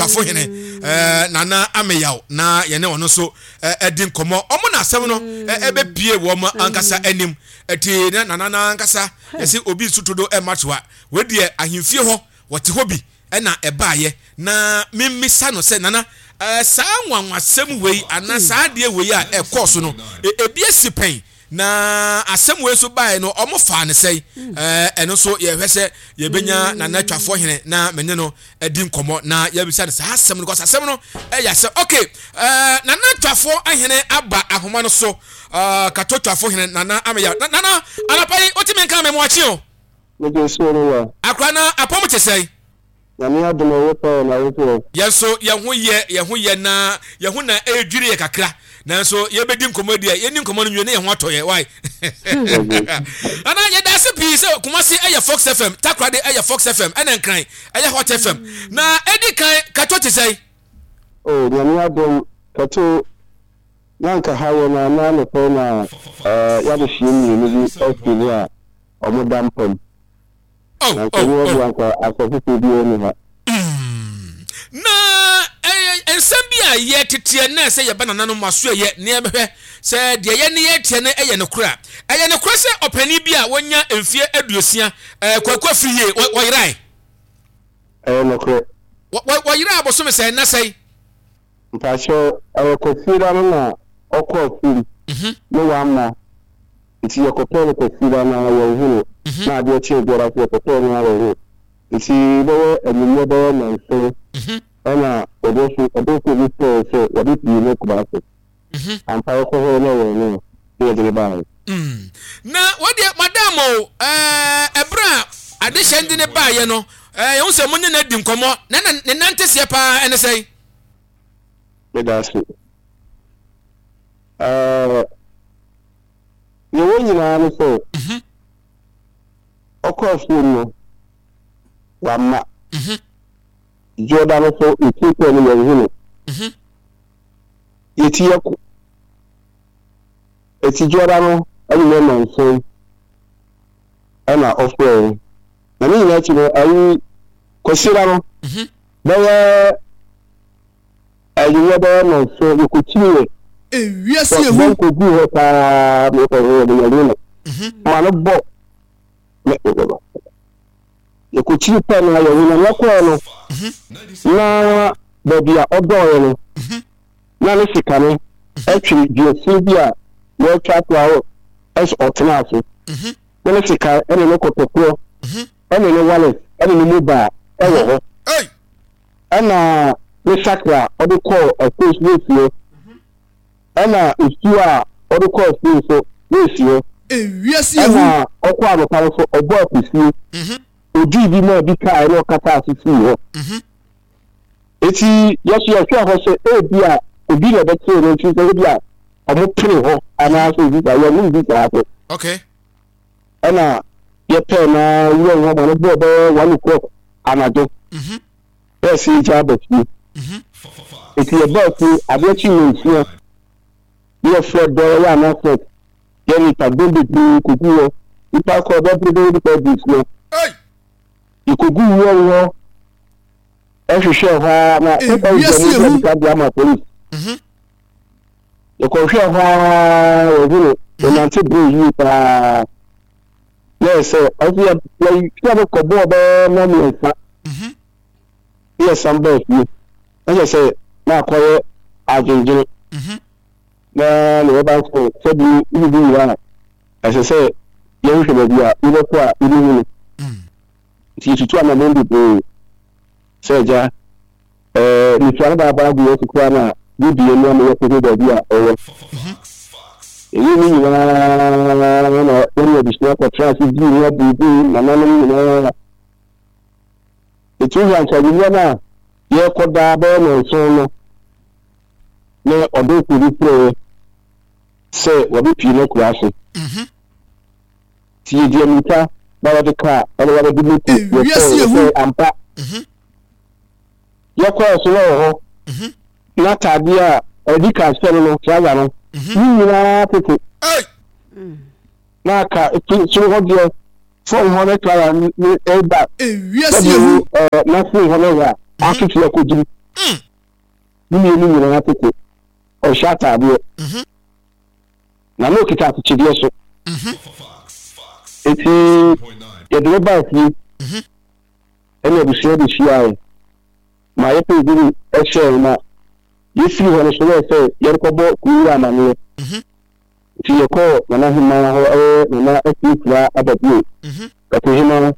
Tafo hene eh, Nana Ameyaw na yɛne ɔno nso eh, di nkɔmmɔ. Ɔmo na asɛm no eh, ɛbɛpie wɔn ankasa anim. Ɛti na Nana no ankasa yɛse obi nso todo ɛma toa. Wei deɛ ahemfie hɔ wɔte hɔ bi ɛna ɛbaayɛ na memmisa no sɛ Nana eh, saa nwanwasɛm wei anaa saa adeɛ wei a ɛkɔɔ so no ebi asi pɛn Na asɛm wei nso baeɛ no, wɔn faa no sɛn? Ɛɛ ɛno nso yɛhwɛ sɛ yɛbɛnya Nana Twafoɔ Hene na me ne no adi nkɔmmɔ na yɛbisa no saa asɛm no kɔsɛ asɛm no ɛyɛ asɛm. Ok, ɛɛ Nana Twafoɔ Hene aba ahoma no so. Ɛɛ Kato Twafoɔ Hene Nana Ameya. Nana, anɔpa yi wotumi nka me moakye o. Mede so no wa. Akora na apɔm te sɛn? Nyame adom ɛyɛ paa na wo nso ɛ? Yɛn nso yɛn ho yɛ, yɛn ho yɛ na yɛn ho na ɛredwiri yɛ kakra. Nanso yɛbɛdi nkɔmmɔ deɛ, yɛnni nkɔmmɔ no nwie na yɛn ho atɔ yɛ. Why? Nana, yɛda ase pii sɛ Kumasi ɛyɛ Fox FM, Takoradi ɛyɛ Fox FM, ɛna Nkran ɛyɛ Hot FM. Na ɛdi kan, Kato te sɛn? Oh, Nyame adom, Kato, na anka ha yɛ na na anɔpa yi na eh, yɛadehyeɛ mmienu bi afiri mu a wɔda mpa mu. Oh, Na nka oh, ni oh. ɔboa nka asɔ foforɔ biara ni ha. Na ɛyɛ nsɛm bi a yɛteteɛ na ɛsɛ yɛba nananom aso ɛyɛ na yɛbɛhwɛ sɛ deɛ yɛ ne yɛteɛ no ɛyɛ nokorɛ a. Ɛyɛ nokorɛ sɛ ɔpanin bi a wanya mfeɛ 60, Kwaku Afriyie, wɔyerae. Ɛyɛ nokorɛ. Wɔyeraa bosome sɛn na sɛn? Mpakyɛw, ɛyɛ Kwasiada no na ɔkɔɔ afuom ne wamma nti yɛkɔpɛɛ no Kwasiada no ara yɛnhu no na adeɛ kyee biara nso yɛkɔpɛɛ no ara yɛnhu no nti bɛyɛ anwummerɛ bɛyɛ nnɔnson ɛna ɔdɔfo ɔdɔfoɔ bi frɛɛ sɛ wɔabɛpue no Kumasi. Ampa yɛkɔ hɔ na ɛyɛ ɔno a na yɛde no baeɛ. Na wɔdeɛ madam o, ɛɛ ɛberɛ a adehyɛ de ne baeɛ no, ɛɛ yɛhu sɛ mo ne no adi nkɔmmɔ na ne nanteseɛ paa ɛne sɛn? Meda ase. Ɛɛ, nea ɛwɔ nyinaa ne sɛ, ɔkɔ afuom no, wamma. Dwoɔda no so, yɛtie pɛɛ no, yɛnhu no. Yɛti yɛkɔ. Eti Dwoɔda no anwummerɛ nnɔnson ɛna ɔfrɛɛ. Na ne nyinaa akyi no, ayi Kwasiada no, Bɛyɛ anwummerɛ bɛyɛ nnɔnson, yɛkɔkyiniiɛ. Ewiase ehu. Bɔn kɔguu hɔ paa ma yɛkɔhwehwɛɛ no, yɛanhu no. Ma no bɔ ne Yɛkɔkyini pɛ no a yɛanhu no. Yɛkɔɛ no, na baabi a ɔdɔɔeɛ no, na ne sika no twere duasin bi a wɔatwa ato a ɛsɛ ɔtenaa so. Na ne sika ne ne kɔtɔkorɔ ne ne wallet ne ne mobile wɔ hɔ. Ɛna ne sakra a ɔde kɔɔ afuo so na esi hɔ. Ɛna nsuo a ɔde kɔɔ afuo nso na esi hɔ. Ewiase ehu. Ɛna ɔkɔɔ anɔpa no so ɔbɔɔ akusie. Odii bi maa bi kae na ɔkataa so sii hɔ. Eti yɛso yɛhwɛɛ hɔ sɛ ebi a obi na ɛbɛkyerɛ no nti sɛ ebi a ɔmo pere hɔ anaasɛ obi saa yɛn bi saa so. Okay. Ɛna yɛpɛɛ na wura hɔ ma no bɔɔ bɛyɛ 1 o'clock anadwo. Na ɛsɛ yɛgya aba fie. Eti yɛbaa fie adeɛ kye nnɔnsia na yɛfrɛ dɔɔ yɛ announcement yɛ nipa dɔm bebree kɔgu hɔ nipa kɔ bɛbere bɛyɛ nipa 60 yɛkɔgu wura hɔ ɛhwehwɛ hɔ ara na paper yi deɛ mo nsa de ama police yɛkɔhwɛ hɔ ara yɛhu no yɛnante bere yie paa na yɛ sɛ ɔso yɛ yɛhwɛ no kɔbɔɔ bɛyɛ nna mmiɛnsa na yɛsan baa fie na kyerɛ sɛ na akɔyɛ adwendwene na ne bɛba nso sɛbi wobibi nyina a ɛsɛ sɛ yɛhwehwɛ baabi a wobɛkɔ a wobɛhu no nti yɛtutu anammɔn bebree sɛ agya ɛɛ mesua no baabaa gu yɛn so koraa na yɛbie no ama yɛkɔhu baabi a ɔwɔ. Ɛyi ne nyinaa na yɛne abusua kɔtra ase dii ho abuubuu nananom nyinaa. Ɛtumi hwɛ anka anwummerɛ no a yɛrekɔda bɛyɛ nnɔnson no na ɔdomfo bi frɛɛ sɛ wɔbɛpie no akura ase. Nti yɛdi amirika na wɔde kaa ɛna wɔde moto Ewiase yɛkɔɛ ehu. yɛkɔɛ ampa. Yɛkɔɛ so na wɔ hɔ n'ataadeɛ a ɛdi kan hyɛ no no trouser no ne nyinaa tete na aka soro hɔ deɛ fam hɔ ne trouser ne ɛba Ewiase sɛbi ehu. ɛɛ n'asene hɔ ne hɔ a atete akɔgyim. Ne mmienu nyinaa tete. Ɔnhyɛ ataadeɛ. Na na ɔkita akyekyedeɛ so. Enti yɛde no baa fie. Ɛna abusua bɛhyiaeɛ ma yɛpɛɛ bi hyɛɛ na yɛfiri hɔ no so yɛɛ sɛ yɛrekɔbɔ kuo amanneɛ. Nti yɛkɔɔ Nana Hemaa hɔ ɛyɛ Nana Afie Kura Ababio, Kato Hemaa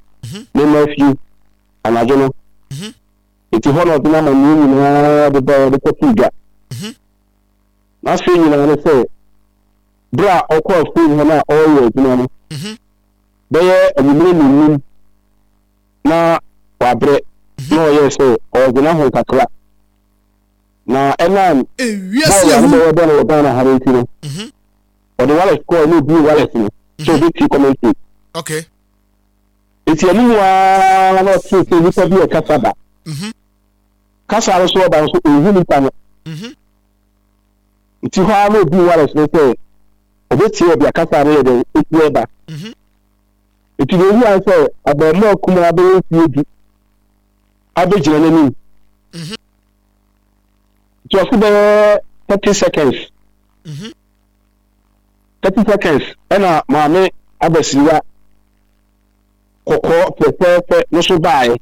ne mma afie anadwo no. Nti hɔ na ɔde n'amanneɛ nyinaa de baeɛ de kɔtoo dwa. N'asɛm nyinaa ne sɛ berɛ a ɔkɔ afuom hɔ no a ɔreyɛ adwuma no, bɛyɛ anwummerɛ nnɔnnum na wabrɛ na ɔyɛɛ sɛ ɔregye n'ahome kakra. Na ɛnam Ewiase bɔɔl a ehu. ne bɛyɛ bɔ no wɔ Ghana ha no nti no, ɔde wallet kɔɔ na obie wallet no sɛ obetie commentary. Okay. Nti ɛno mu ara na ɔtee sɛ nipa bi ɛkasa ba. Kasa no so ɔba nso ɔnhu nipa no. Nti hɔ ara na obie wallet no sɛ obetie baabi a kasa no yɛ dɛn esi ɛba. Nti deɛ ohu ara sɛ abarimaa kumaa bɛyɛ mfeɛ du abɛgyina n'anim. Nti ɔse bɛyɛ 30 seconds. 30 seconds ɛna maame abasiriwa kɔkɔɔ fɛfɛɛfɛ no so baeɛ.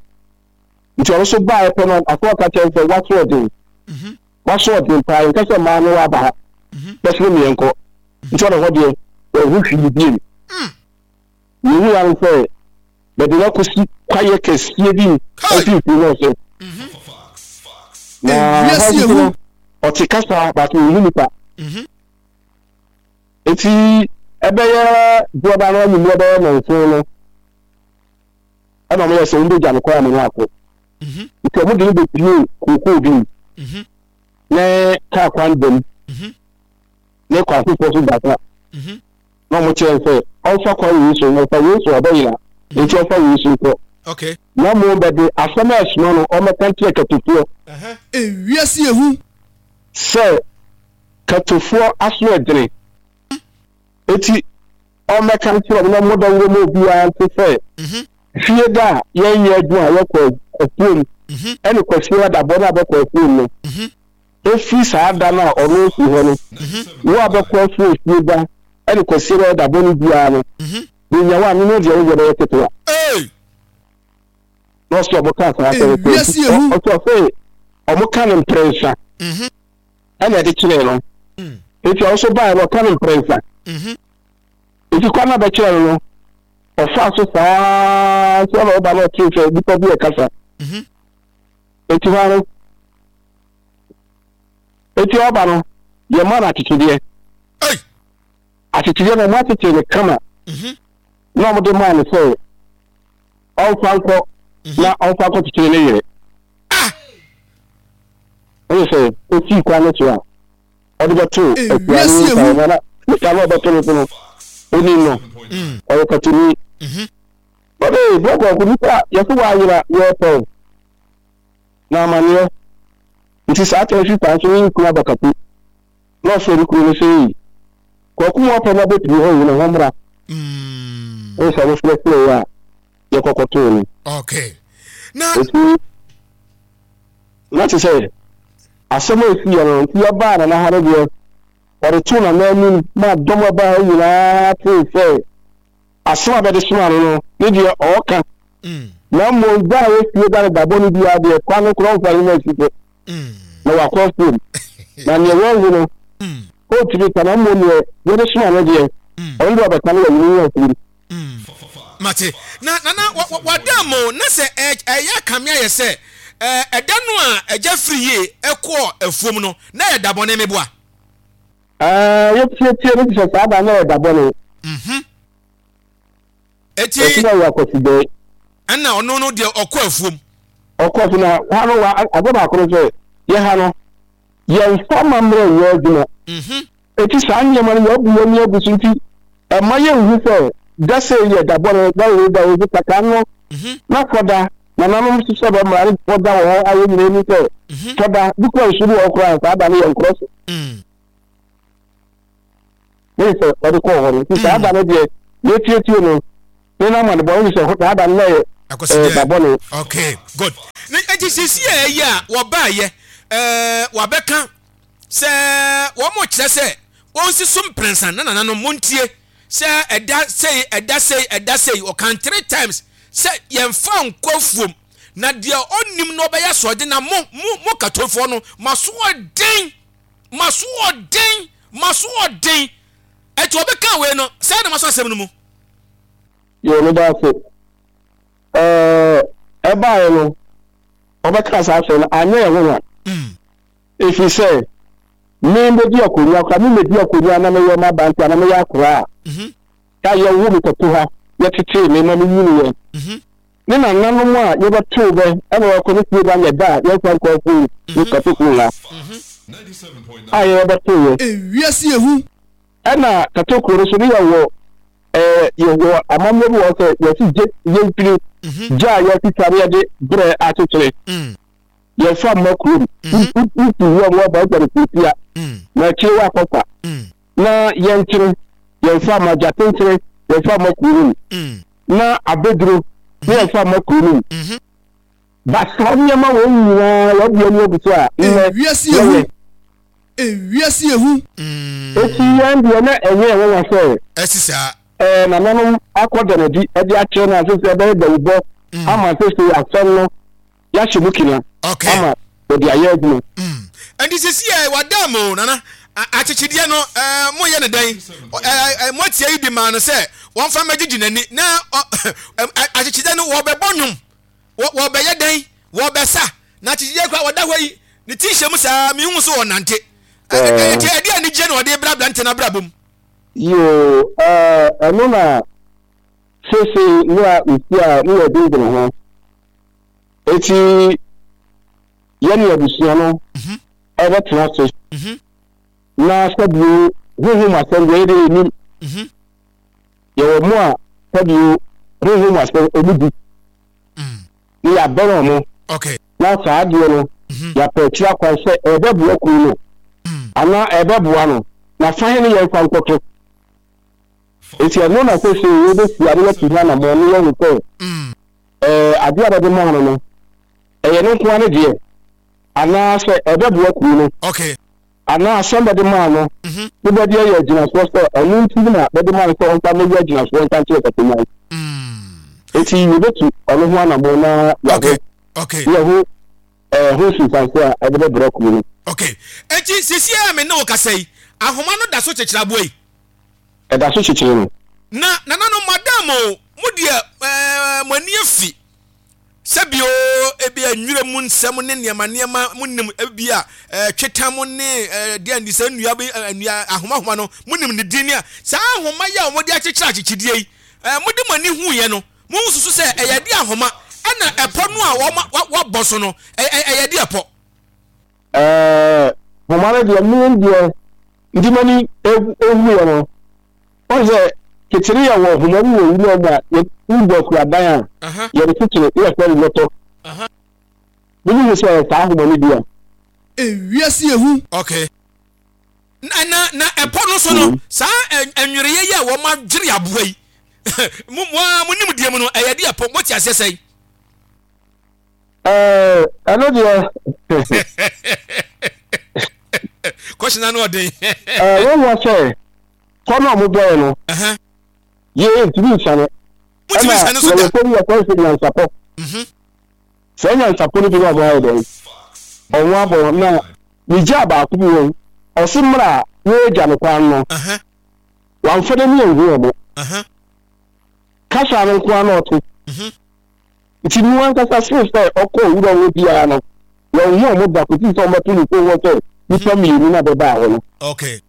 Nti ɔno so baeɛ pɛ no afɔ ɔka kyerɛ sɛ waso ɔden. Waso ɔden paa nka sɛ maa no waba ha. Bɛsene mmiɛnkɔ. Nti ɔno hɔ deɛ wɔho hwee biem. Yehu ara sɛ bɛde no akɔsi kwaeɛ kɛseɛ bi mfimfini na ɔsɛ. Na hɔ nso no, ɔte kasa but ɔnhu nipa. Eti ɛbɛyɛ boɔda no anwummerɛ bɛyɛ nnɔnson no, ɛna wɔyɛ sɛ wɔbɛgya no kwan ama no akɔ. Nti wɔde no bɛpie kookoo bi mu ne kaa kwan dam ne kwan foforɔ so da na wɔn kyerɛ sɛ ɔmfa kwan wei so na ɔfa wei so ɔbɛyera nti ɔmfa wei so nkɔ. Okay. Na mmom bɛde asɛm a ɛsoma no ɔmmɛka nkyerɛ katofoɔ. Ewiase yɛ hu. Sɛ katofoɔ aso ɛdene. Eti ɔmmɛka nkyerɛ wɔn na ɔmmɔ dawuro ma obiara nte sɛ fie da a yɛnyɛ adwuma a yɛkɔ afuom ɛne kwasia da bɔ no a bɛkɔ afuom no. Ɛfiri saa da no a ɔno ɔfiri hɔ no, wo a bɛkɔ afuo fie da ne Kwasiada da bɔne biara no, bɛnya wo a, ne no deɛ wo deɛ bɛyɛ ketewa. Na ɔsɛ ɔmo ka saa asɛm no Ewiase ehu. ɔsɛ ɔsɛ ɔmo ka no mprɛnsa ɛna ɛde kyerɛɛ no. Eti ɔno nso baeɛ no ɔka no mprɛnsa. Eti kwan no a bɛkyerɛ no no, ɔfaa so saa nso ɛna ɔba no ɔtee sɛ nipa bi ɛkasa. Eti hɔ ara Eti ɔba no, yɛma no akyekyedeɛ. Akyekyedeɛ no, wɔakyekyere no kama mhm. na wɔde maa no sɛ ɔmfa nkɔ mhm. na ɔmfa nkɔkyekyere ne yere. Ah! Ɛyɛ sɛ osii kwan no so a ɔde bɛto akua no nsa na na nipa no ɔbɛto no so no onim no mm. ɔyɛ katoni. Mhm. Ɔde bɔkɔɔko nipa yɛso wɔayera yɛpɛw. Na amaneɛ nti saa tɛnhwe saa nso ne kunu abakato na ɔfrɛ ne kunu no sɛ ei kwaku mu apɛ no abɛpie hɔ yi na hɔ mmra ɛne sɛ ɔmo frɛ frɛ a yɛkɔkɔtoo no. Okay. Na nti na te sɛ asɛm a ɛsi yɛ no nti yɛbaa nana ha no deɛ ɔde too nana anim ma dɔm a ɛbaa ha nyinaa tee sɛ asɛm a bɛde somaa no no ne deɛ ɔɔka Na mmom da a wosie da no da bɔne biara deɛ, kwa no korɔ mfa ne nan si so, na wakɔ afuom. Na neɛ wɔahu no, ɔntumi nka, na mmom neɛ yɛde soma no deɛ, ɔno deɛ ɔbɛka no wayi ne ho afiri mu. Mate. Na nana wada mo na sɛ ɛyɛ akame ayɛ sɛ ɛda no a agya firi yie ɛkɔɔ afuom no na ɛyɛ da bɔne meboa. Ɛɛ yɛtietie no te sɛ saa da no yɛ da bɔne. Eti. Ɔsi na ɔyɛ akwasidɛɛ. Ɛna ɔno no deɛ ɔkɔ afuom. Ɔkɔ afuom na ha no wa ade baako no sɛ yɛ ha no yɛnfa amammerɛ nyɛ adwuma. Mhm. Eti saa nneɛma no yɛabu yɛn ani agu so nti ɛma yɛnhu sɛ da sei yɛ da bɔne da wei da wei so kakaa no Mhm. na fɔda nananom hyehyɛ bɛ mmara no fɔda wɔ hɔ a yɛn nyinaa nim sɛ Mhm. fɔda bi kura nsu bi wɔ hɔ koraa saa da no yɛ nkorɔ so. Mm. Ne sɛ ɔde kɔɔ hɔ no nti saa da no deɛ yɛtietie no ne no amanebɔ ne sɛ saa da no na yɛ Akɔsi da bɔne. Okay, good. Ne nti sisi a ɛyɛ a wɔbaayɛ. Ɛɛ wabɛka sɛ wɔn kyerɛ sɛ wɔnsi so mprɛnsa na nananom montie sɛ ɛda sei ɛda sei ɛda sei ɔkan three times sɛ yɛmfa nkɔ afuom na deɛ ɔnnim no ɔbɛyɛ asoɔden na mo mo mo katofoɔ no maso ɔden maso ɔden maso ɔden ɛti ɔbɛka wei no sɛ na maso asɛm no mu. Yɛ meda ase. Ɛɛ ɛbaeɛ no ɔbɛka saa asɛm no anyɛ yɛn nwanwa. Ɛfiri sɛ me mɛdi akonnwa koraa me mɛdi akonnwa na meyɛ m'aberanteɛ na meyɛ akoraa a yɛwo me kɔto ha yɛtetee me ma menyiniiɛ ne nananom a yɛbɛtoo bɛ ɛna wɔkɔ ne fie ba nyɛ da a yɛmfa nkɔ afuo ne kɔto kuro ha a yɛbɛtooyɛ. Ewiase ehu. Ɛna kato kuro no so ne yɛwɔ ɛɛ yɛwɔ amammerɛ bi wɔ hɔ sɛ yɛsi gye yɛmfiri gya a yɛatwitwa ne yɛde berɛ akyekyere. Yɛmfa mma kurom. Wofi wuram woaba wogya no kurotia na akyire woakɔfa. Na yɛnkyere yɛmfa mma gyatenkyere yɛmfa mma kuro no mu. Na abɛduro ne yɛmfa mma kuro no mu. Ba saa nneɛma wei nyinaa yɛde ani agu so a nnɛ yɛyɛ. Ewiase ehu. Eti yɛn deɛ na ɛnyɛ yɛn nwanwa sɛ. Ɛsi saa. Ɛɛ nananom akɔ da no adi de akyerɛ no a sese ɛbɛyɛ dawubɔ ama sese asɛm no yɛahyɛ mu kina ama wɔde ayɛ adwuma. Ɛnti sisi ɛ wada mu nana akyekyedeɛ no ɛɛ mo yɛ ne dɛn ɛɛ mo atia yi di maa no sɛ wɔnfa mɛgyegye n'ani na akyekyedeɛ no wɔbɛbɔ nnwom wɔbɛyɛ dɛn wɔbɛsa na akyekyedeɛ kora wɔda hɔ yi ne ti hyɛ mu saa mehu so wɔnante ɛnti ɛde anigyeɛ na wɔde brɛ aberante no abrabɔ mu. Yoo ɛɛ ɛno na sese ne a nsi a ne yɛ dwendwene ho. Enti yɛne abusua no bɛtena ase na sɛdeɛ honhom asɛm deɛ yɛdeɛ yɛnim. Yɛwɔ mo a sɛdeɛ honhom asɛm ɔmu di ne yɛabɛn ɔmo na saa adeɛ no yɛapɛ akyiri akwan sɛ ɛbɛboa kuro no anaa ɛbɛboa no na fa he ne yɛmfa nkɔto. Enti ɛno na seesei yɛbɛhyia na yɛatu ho anammɔn na yɛahu sɛ ɛɛ adeɛ a bɛde maa no no, ɛyɛ ne nko ara ne deɛ anaasɛ ɛbɛboa kuro no. Okay. Anaa asɛm bɛde maa no mhm. ne bɛde ayɛ agyinasoɔ sɛ ɛno nti na bɛde maa no sɛ ɔmfa mmɛyɛ agyinasoɔ nka nkyerɛ Katonyan. Enti yɛbɛtu ɔno ho anammɔn na yɛaho Okay. yɛho ɛɛ ho nsunsuansoɔ a ɛde bɛbrɛ kuro no. Okay. Enti sisi a me ne wo kasa yi, ahoma no da so kyekyere aboa yi. Ɛda so kyekyere no. Na nananom madam o, mo deɛ ɛɛ mo ani afi sɛbi o, ebi a nwura mu nsɛm ne nneɛma nneɛma mo nim ebi a ɛɛ twetam ne ɛɛ deɛ ndi sɛ nnua bi ɛɛ nnua ahoma ahoma no mo nim ne din ne a saa ahoma yi a wɔde akyekyere akyekyedeɛ yi ɛɛ mo de mo ani hu yɛ no mo nsusu sɛ ɛyɛ de ahoma ɛna ɛpɔ no a wɔn wɔabɔ so no ɛyɛ ɛyɛ de ɛpɔ. Ɛɛ nhoma no deɛ me deɛ nti m'ani ehuiɛ no wɔn sɛ kyekyere yɛ wɔ nhoma bi wɔ wura mu a yɛwɔ akuradan a yɛde kyekyere yɛ fɛ no lɔtɔ mene hu sɛ saa nhoma no bi a. Ewiase ehu. Okay. Na na na ɛpɔ no so no saa ɛnwereɛ yi a wɔn adwere aboa yi mo mo a mo nim deɛ mu no ɛyɛ de ɛpɔ mo te aseɛ sɛn. Ɛɛ ɛno deɛ. Kɔhyina no ɔden. Ɛɛ wɔn wɔ sɛ kɔ na wɔn bɔɛ no. Yɛ ntumi nsane. Ɛna yɛwɔ fam yɛ kɔ sɛ nyansapɔ. Mhm. Sɛ nyansapɔ no bi na wɔn ayɛ dɛn. Wɔn abɔ na ne gya baako bi wɔn. Ɔsi mmerɛ a wɔregya no kwan no. Wɔamfa n'ani anhu wɔn. Kasa no nko ara na ɔte. Mhm. Nti no ankasa sen sɛ ɔkɔɔ wura hɔ biara no, wanhu wɔn da kosii sɛ wɔbɛto ne kurow hɔ sɛ nnipa mmienu na bɛbaa hɔ no. Okay.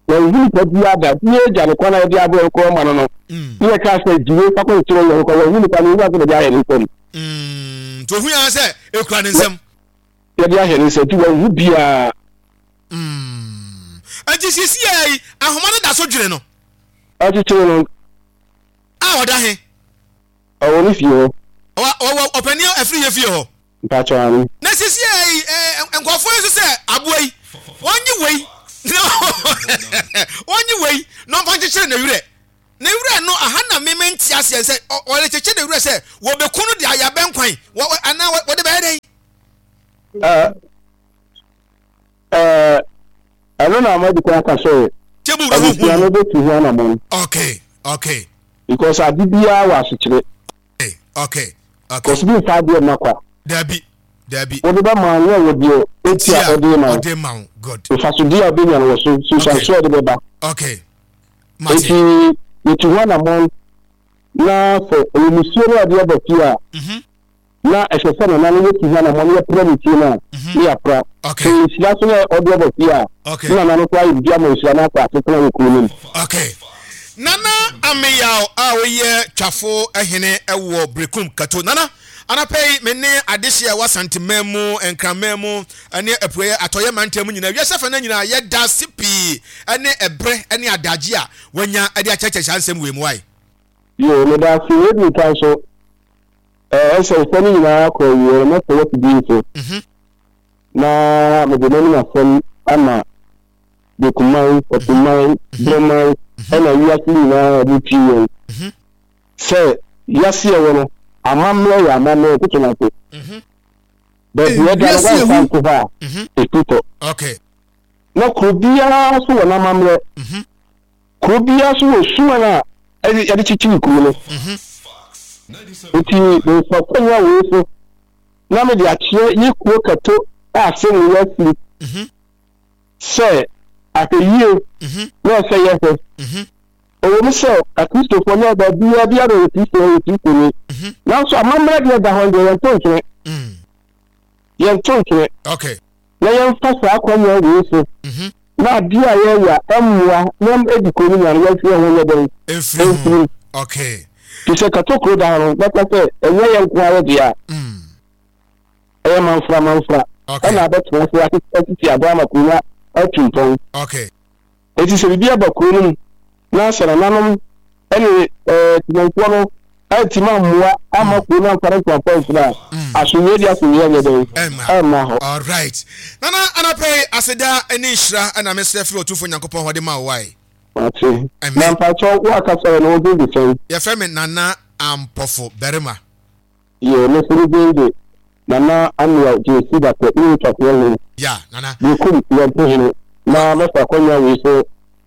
Wanhu nipa biara da. Nti yɛagya no kwan a yɛde abrɛ no kɔ ma no no, Mm. ne yɛkaa sɛ gye wei fa kɔkyekyere wo yɔnko. Wanhu nipa no, owura sɛ bɛde ayɛ ne nsam. Mm. Nti ohui ara sɛ ekura ne nsam. Yɛde ahyɛ ne nsam, nti wanhu biara. Mm. Nti sisi yi, ahoma no da so dwene no. Ɔkyekyere no. A ɔda he? Ɔwɔ ne fie hɔ. Ɔwɔ ɔwɔ ɔpanin afiri yɛ fie hɔ. Mpakyɛw ane. Na sisi yi ɛ nkurɔfoɔ yi nso sɛ aboa yi wɔnye wei na wɔnye wei na ɔmfa nkyekyere ne werɛ ne werɛ no aha na me mente aseɛ sɛ ɔrekyekyere ne werɛ sɛ wɔbɛku no de ayɛ abɛnkwan wɔ anaa wɔde bɛyɛ dɛn. Ɛɛ. Ɛno na madi kan aka sɛ Table wura ho abusua hu no mu. bɛtu ho anammɔn. Okay, okay. Because ade biara wɔ asekyerɛ. Okay, okay, okay. Because bi mfa adeɛ mma kwa. Dabi, dabi. Wode bɛma no na ɛwɔ deɛ eti a ɔde ma wo. Ɔde ma wo, good. Mfasodeɛ a ɔbɛnya no wɔ so, nsunsuansoɔ a ɛde bɛba. Okay, mate. Eti yɛtu ho anammɔn na sɛ ɛyɛ musuo no a ɔde aba fie a, Mhm. na ɛsɛ sɛ nana no yɛtu ho anammɔn na yɛpra ne fie no a, Mhm. ne yɛapra. Okay. Sɛ nhyira so na ɔde aba fie a, Okay. ne nana no koraa yɛ biribi ama nhyira no akɔ asetena wɔ kuro no mu. Okay. Nana Ameyaw a woyɛ Twafo hene wɔ Berekum Kato. Nana, anɔpa yi me ne adehye a ɛwɔ Asanteman mu, Nkraman mu, ne Apueɛ Atɔeɛ mantam mu nyinaa, wiase afanan nyinaa, yɛda ase pii ne ɛberɛ ne adagye a wanya de akyerɛkyerɛ saa nsɛm wei mu. Wae? Yoo, meda ase. Wei di kan so, ɛɛ, ɛsɛ nsɛm no nyinaa kɔ awieɛ no, mɛsɛ w'afidie so na mede m'anim asɛm ama Bekuman, Ɔsoman, Broman, ɛna wiase nyinaa a wɔtie yɛn sɛ wiase a ɛwɔ no, amammerɛ yɛ amammerɛ, ntoto no ase. Baabi a ɛda no, woamfa nto hɔ a, ɛfiri kɔ. Na kuro biara nso wɔ n'amammerɛ. Kuro biara nso wɔ suman a yɛde kyekyere kuro no. Nti memfa kwanya wei so na mede akyerɛ yɛ kuro Kato a asɛm wei afiri. Sɛ ahwɛyie na ɛsɛ yɛhwɛ. Ɛwɔ mu sɛ Akristofoɔ nyɛ baabiara biara yɛ Kristo yɛ Kristoni. Nanso amammerɛ deɛ da hɔ deɛ yɛnto ntwene. Yɛnto ntwene. Na yɛmfa saa akwannya wei so na adeɛ a yɛyɛ a ɛmmoa na ɛdi kuro no nya no yɛmfi yɛn ho nyɛ dɛn mfiri mu. Te sɛ katokuro da hɔ no bɛka sɛ ɛnyɛ yɛn nko ara deɛ a. Ɛyɛ manfra manfra ɛna abɛtena ase asisi adan ama kuro no atu mpɔn. Enti sɛ biribi aba kuro no mu na sɛ nananom ne temanfoɔ no antumi ammoa amma kuro no amfa ne nkurɔfoɔ amfiri a, asomdwoeɛ deɛ asomdwoeɛ nyɛ dɛn? Ɛmma hɔ. Alright. Nana anɔpa yi aseda ne nhyira na mesrɛ firi Otumfoɔ Nyankopɔn hɔ de ma wo wae. Mate. Amen. Na mpakyɛw wo akasa yɛ no wo din de sɛn? Yɛfrɛ me Nana Ampɔfo Barima. Yɛ me nso me din de Nana Amiel Gyesi Dakwɛ ne Otwafoɔ Hene, Ya, Nana. Bekum Yɔmpohene, na mɛfa akwanya wei so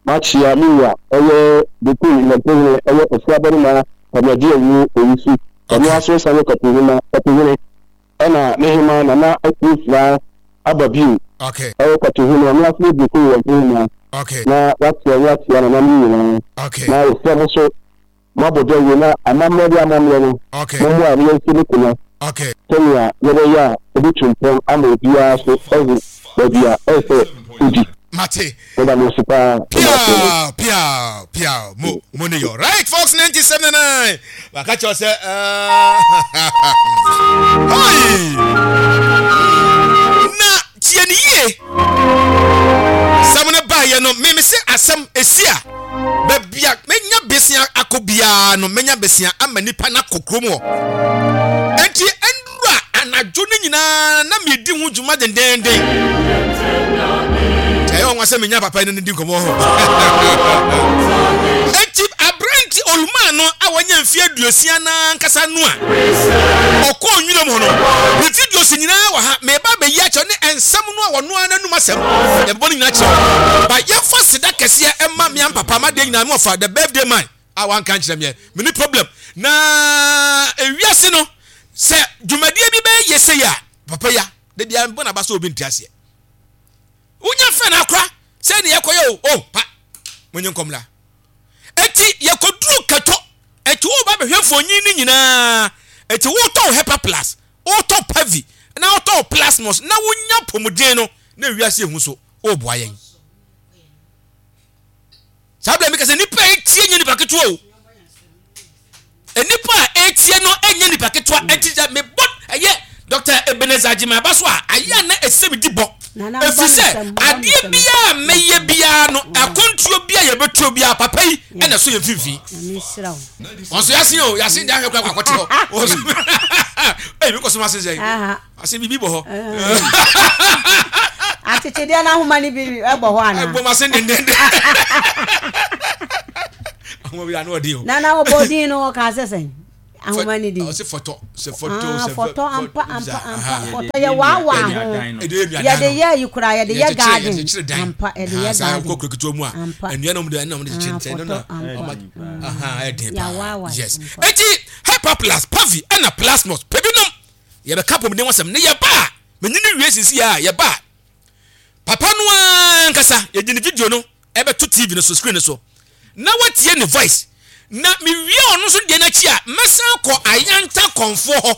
makyea me wura ɔyɛ Bekum Yɔmpohene ɔyɛ Osuabarima Kwame Awuo Owusu, ɔno ara nso sane Kwapihema, Kwapihene, ɛna ne hema Nana Akuo Fira aba bio Okay. ɔyɛ Kwapihene, ɔno ara nso yɛ Bekum Yɔmpohema, Okay. na wakyea ne akyea nananom nyinaa, Okay. na yɛsrɛ mo nso Moabɔ dawuro na amammerɛ de amammerɛ no, mommoa na yɛnsi no kona sɛnea yɛbɛyɛ a ɛbɛtu mpɔn ama obiara nso ahu baabi a ɛsɛ sɛ ɔdi. Mate. Meda mo ase paa. Piaw, piaw, piaw. Mo, mo ne yɔ. Right, Fox 97.9. Waka kyerɛ sɛ, hoi. Na tie ne yie. Sɛm no baeɛ no, meme se asɛm esi a. Baabi a menya besia akɔ biara no, menya besia ama nipa no akɔ kurom hɔ. Enti ɛnura anadwo no nyinaa na medi ho dwuma dendenden. Ɛyɛ ɔnwa sɛ menya papa no di nkɔmmɔ hɔ. Enti aberante olumaa no a wanya mfe aduosia no ankasa no a ɔkɔɔ nwiram hɔ no, ne videos nyinaa wɔ ha. Meba abɛyi akyerɛ ne nsɛm no a wɔno ara n'anum asɛm. Yɛbɛbɔ no nyinaa kyerɛ wo. Ba yɛmfa seda kɛseɛ mma me ampapa m'adeɛ nyinaa me wɔfa the birthday man a wanka nkyerɛ meɛ. Menni problem. Na ewiase no sɛ dwumadie bi bɛyɛ yie sei a papa yi a da biara mebɔ n'aba sɛ obi nte aseɛ. Wonya fɛ no akora sɛ ne yɛkɔyɛ o oh pa monye nkɔmmra. Eti yɛkɔduru Kato eti woba bɛhwɛ mfonyin no nyinaa eti wotɔ wo Hepa Plus Wotɔ Pavi na wotɔ Plasmos na wonya apɔmuden no na wiase ehu so woboa yɛn. Saa bere meka sɛ nipa a etie nyɛ nipa ketewa o. Nipa a etie no nyɛ nipa ketewa eti sɛ mebɔ ɛyɛ Dr. Ebenezer Agyemang aba so a ayɛ a na ɛsɛ medi bɔ. Ɛfiri sɛ adeɛ biara a mɛyɛ biara no akwantuo bi a yɛbɛtuo biara papa yi ɛna ɛso yɛn mfimfini. Wɔn so yasin o yasin de ahwɛ kura akɔte hɔ. Wɔn so ɛyi mi kɔ so ma asen sɛ asen bibi bɔ hɔ. Akyekyedeɛ no ahoma no bi bɔ hɔ anaa? Ɛbɔ ma asen dendenden. Ahoma bi ano ɔden o. Nana ɔbɔ din no ɔka sɛ sɛn? Ahoma ne din. Ɔse fɔtɔ sɛ fɔtɔ ah, sɛ fɔtɔ ampa ampa ampa fɔtɔ yɛ waawaa ho. Yɛde yɛ ayi koraa yɛde yɛ garden ampa yɛde yɛ garden. Kɔ kuro ketewa mu a nnua na wɔde ɛna wɔde kyekyere nkyɛn no na ɔma ɛden paa yes. Eti hyperplus pavi ɛna plasmos pɛbi nom yɛbɛka apɔmuden ho asɛm ne yɛba a menyini wie sisi a yɛba a papa no ankasa yɛde ne video no ɛbɛto TV no so screen no so na watie ne voice na mewie ɔno nso deɛ no akyi a mɛsan akɔ Ayanta kɔnfoɔ hɔ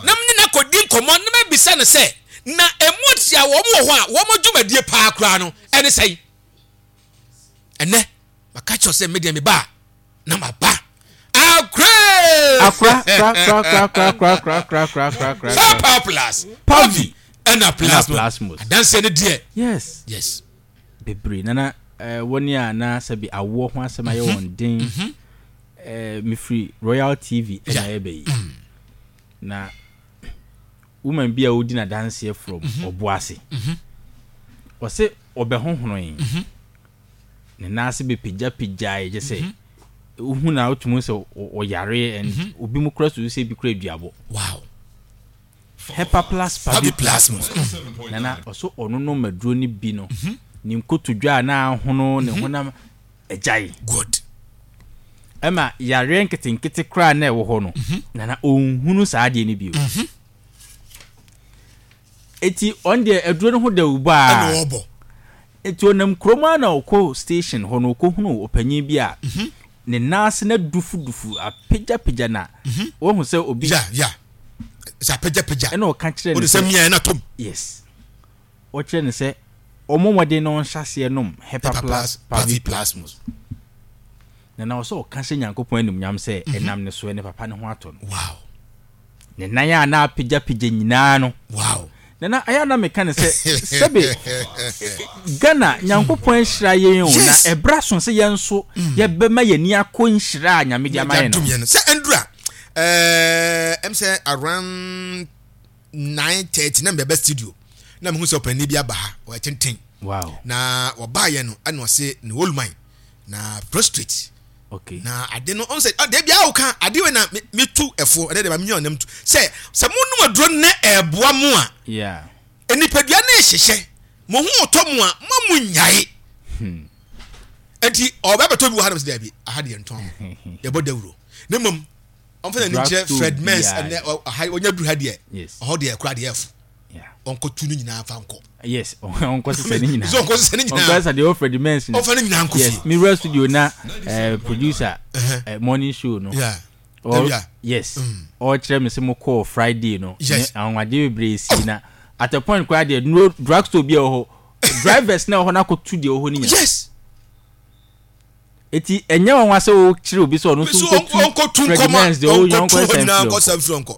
na mene no akɔdi nkɔmmɔ na mabisa no sɛ na ɛmu tia wɔn wɔ hɔ a wɔn dwumadie paa koraa no ɛne sɛn ɛnɛ maka kyerɛ sɛ medeɛ meba a na maba akora akora kora kora kora kora kora kora kora kora kora kora plus pavi ɛna plasmos adanseɛ no deɛ yes yes bebree na na eh, wɔn a na sɛbi awoɔ ho asɛm ayɛ mhm. wɔn den mhm. eh, mefiri Royal TV ɛna ɛbɛ yi mm. na woman bi a ɔdi n'adanseɛ from mhm. Ɔboase ɔsɛ ɔbɛhohonoe ne nan ase bɛpagyapagyae kyɛ sɛ wohu na wotumi sɛ ɔyare and obi mu kora susu sɛ bi kora aduabɔ wow Hepaplas paviplasmus. Nana ɔso ɔno nom aduro no bi no ne nkotodwe a na ahono ne honam agyae. Good. Ɛma yareɛ nketenkete koraa na ɛwɔ hɔ no nana ɔnhunu saa adeɛ no bio. Eti ɔno deɛ aduro no ho dawubɔ a. Ɛna ɔbɔ. Eti ɔnam kurom ara na ɔkɔ station hɔ no ɔkɔhunu ɔpanyin bi a ne nan ase no adufudufu apagyapagya na wahu sɛ obi. Ya ya sɛ apagyapagya. Ɛna ɔka kyerɛ no sɛ. Ɔde sɛ mia ɛna tom. Yes ɔkyerɛ no sɛ ɔmmɔ mmɔden na ɔnhyɛ aseɛ nom Hepaplas Paviplasmus. Na na ɔsɛ ɔka hyɛ Nyankopɔn animuonyam sɛ ɛnam ne so ne papa ne ho atɔ no. Wow. Ne nan a na apagyapagya nyinaa no. Wow. Nana, ɛyɛ a na meka no sɛ, sɛbe Ghana, Nyankopɔn ahyira yɛn o, na ɛberɛ aso sɛ yɛn nso yɛbɛma yɛn ani akɔ nhyira a Nyame de ama yɛn no. Sɛ ɛndura, ɛɛ, ɛm sɛ around 9:30 na mebɛba studio na mehu sɛ ɔpanin bi aba ha, ɔyɛ tenten. Wow. Na ɔbaayɛ no, ɛna ɔse ne old man na prostrate. Okay. Na ade no ɔn sɛ ɔde bia ɔka ade wei na me tu ɛfo ɛdɛ de ma me ɔnam tu sɛ sɛ mo nom aduro ne ɛboa mo a. Yeah. Nipadua ne hyehyɛ mo ho ɔtɔ mo a mo mo nyae. Hmm. Enti ɔbɛ bɛtɔ bi wɔ ha na mo sɛ daabi aha deɛ ntɔn yɛbɔ dawuro ne mmom ɔmfa n'ani nkyerɛ Fred Mens ɛnɛ ɔha ɔnya duru ha deɛ ɔhɔ deɛ ɛkora deɛ ɛfo ɔnkɔtu no nyinaa fa nkɔ. Yes, ɔnkɔ sisa ne nyinaa. So ɔnkɔ sisa ne nyinaa. Ɔnkɔ sisa deɛ ɔfrɛ de mens no. Ɔfa ne nyinaa nkɔ fie. Yes, mi wura studio na eh, producer eh, morning show no. Yeah. Or, yes. Ɔkyerɛ mi sɛ mo kɔɔ Friday no. Yes. Anwanwadeɛ bebree si na at a point koraa deɛ no drug store bi a ɛwɔ hɔ drivers na ɛwɔ hɔ na akɔtu deɛ ɛwɔ hɔ no nyinaa. Yes. Eti ɛnyɛ nwanwa sɛ wokyerɛ obi sɛ ɔno nso nkɔtu Freddie Merz deɛ ɔwɔ nyina ɔnkɔ ɔnkɔ mfiri ɔnkɔ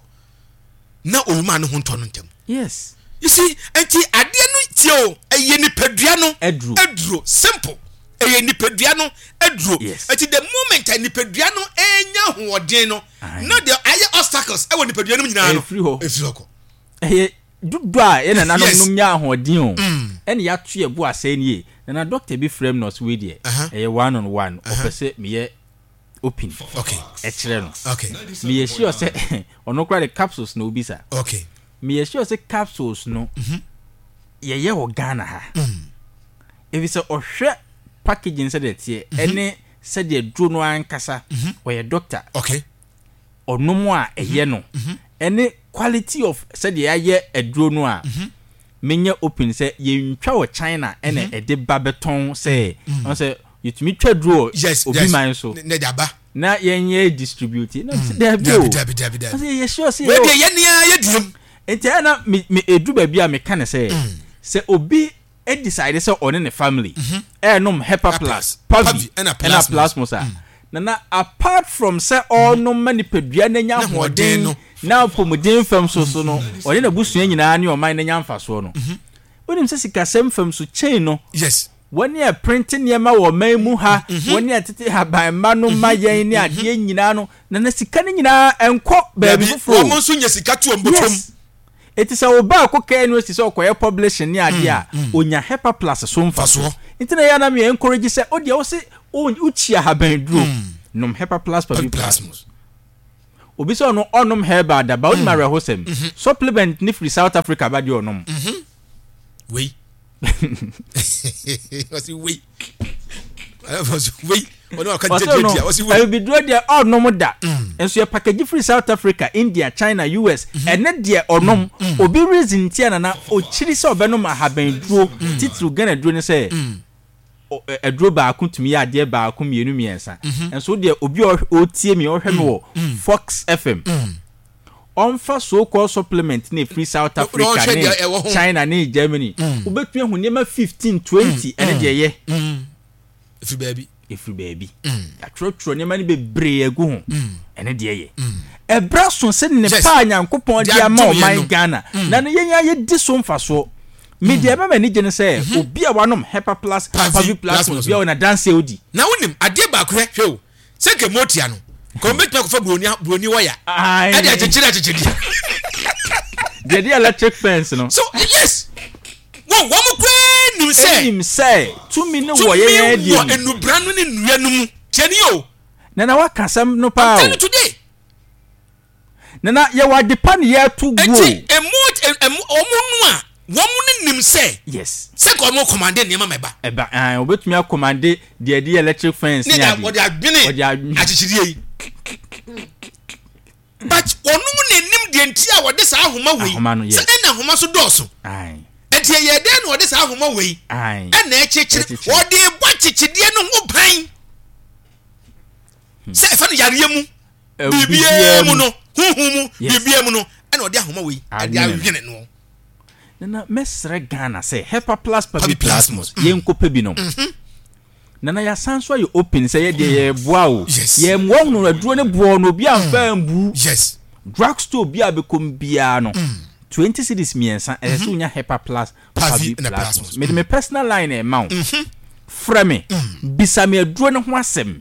na owuma ne ho ntɔ no ntɛm. Yes. You see, nti adeɛ no tie o, ɛyɛ nipadua no aduro. Aduro simple. Ɛyɛ nipadua no aduro. Yes. Nti the moment a nipadua no enya ahoɔden no, na deɛ ayɛ obstacles ɛwɔ nipadua no mu nyinaa no, efiri hɔ. Efiri hɔ kɔ. Ɛyɛ Dodoɔ a yɛn nananom nom nya ahoɔden o, Mm. ɛna yɛato yɛn bo asɛe no yie. Nana doctor bi frɛ me na ɔse wei deɛ ɛyɛ one on one, ɔpɛ sɛ meyɛ open ɛkyerɛ no. Meyɛ sure sɛ ɔno koraa de capsules na ɔbisa. Meyɛ sure sɛ capsules no yɛyɛ wɔ Ghana ha. Ɛfiri sɛ ɔhwɛ packaging sɛdeɛ ɛteɛ ɛne sɛdeɛ duro no ankasa, ɔyɛ doctor. Ɔnom a ɛyɛ no ɛne quality of sɛdeɛ yɛayɛ aduro no a menyɛ open sɛ yɛntwa wɔ China ɛna ɛde ba bɛtɔn sɛ ɔn sɛ yɛtumi twa duro wɔ obi man so na yɛnyɛ distribute na sɛ daabi o ɔsɛ yɛyɛ sure sɛ yɛwɔ deɛ yɛne ara yɛdiem nti ɛna me me ɛduru baabi a meka ne sɛ sɛ obi decide sɛ ɔne ne family ɛrenom Hepa Plus, Pavi ɛna Plasmos a, Nana apart from sɛ ɔrenom ma nipadua no anya ahoɔden na apɔmuden fam so so no, ɔne n'abusua nyinaa ne ɔman no anya mfasoɔ no. Wonim sɛ sikasɛm fam so chain no, wɔne a ɛprente nneɛma wɔ ɔman mu ha, wɔne a ɛtete haban mma no ma yɛn ne adeɛ nyinaa no, Nana sika no nyinaa ɛnkɔ baabi foforɔ o. Wɔn nso nya sika to wɔn bɔtɔm. Yes. Enti sɛ wo ba kɔ KNUST sɛ ɔkɔyɛ publishing ne adeɛ a, ɔnya Hepa Plus so mfasoɔ. Nti na ɛyɛ a na me encourage sɛ wo deɛ wo se wo kyi ahaban duro, nom Hepa Plus Pavi Plasmos. Obi sɛ ɔno ɔnnom herbal da, but wonim awerɛhosɛm? Supplement no firi South Africa ba deɛ ɔnom. Wei. Ɔsi wei. Ɔsi wei. Ɔno ɔka Ɔsɛ no, gyegye ɔsi wei. abibiduro deɛ ɔnnom da. Nso yɛ package firi South Africa, India, China, US. Ɛne deɛ ɔnom. Obi reason nti a nana ɔkyiri sɛ ɔbɛnom ahaban duro, titiriw Ghana duro ne sɛ, aduro baako tumi yɛ adeɛ baako mmienu mmiɛnsa nso wo deɛ obi a ɔretie me ɔhwɛ me wɔ Fox FM ɔmfa so called supplement na ɛfiri South Africa ne China ne Germany wobɛtumi ahu nneɛma 15 20 ɛne deɛ yɛ ɛfiri baabi ɛfiri baabi yɛatwerɛtwerɛ nneɛma no bebree agu ho ɛne deɛ yɛ ɛberɛ so sɛ nnepa a Nyankopɔn de ama ɔman Ghana na no yɛn a yɛdi so mfasoɔ Me deɛ ɛma m'ani gye ne sɛ mhm. obi a wanom Hepa Plus Pavi Plus bi a ɔna danse odi. Na wonim adeɛ baako hwɛ hwɛ o sɛ nka motia no ka wɔn bɛtumi akɔfa buroni buroni wɔya ɛde akyekyere akyekyedeɛ. Deɛ de electric fence no. So yes wɔn wɔn koraa nim sɛ. Nim sɛ tumi ne wɔ yɛn yɛn deɛ mu. Tumi wɔ nnubra no ne nnua no mu tiɛ ni o. Nana waka asɛm no paa o. I'm telling you today. Nana, yɛwɔ ade pa ne yɛreto guo. Eti emu emu wɔn no a wɔn no nim sɛ. Yes. Sɛ nka wɔn kɔmande nneɛma ma ɛba. Ɛba ɛn wɔbɛtumi akɔmande deɛ ɛde electric fence ne ade. Wɔde adwene wɔde adwene akyekyedeɛ yi. But wɔn mu na enim deɛ nti a wɔde saa ahoma wei. Ahoma no yes. Sɛ ɛna ahoma so dɔɔso. Ae. Ɛnti ɛyɛ dɛn na wɔde saa ahoma wei. Ae. Ɛna ɛkyekyere wɔde bɔ akyekyedeɛ no ho ban. Sɛ ɛfa no yareɛ mu. Biribiara mu no, honhom mu, biribiara mu no, ɛna ɔde ahoma wei ɛde awene no. Nana mɛsrɛ Ghana sɛ Hepa Plus Pabi Plasmos mm. yɛnkɔpɛ bi nom. Mm-hmm. Nana yɛasan so ayɛ open sɛ yɛdeɛ mm. yɛboa o. Yɛmmoa hunu aduro ne boɔ no obi amfa mm. mbu. Yes. Drug store bi a bɛkɔm biara no. 20 cedis mmiɛnsa ɛsɛ sɛ mm-hmm. wonya Hepa Plus Pavi Plasmos. Mede me personal line ɛma wo. Mm-hmm. Frɛ me. Bisa me aduro no ho asɛm.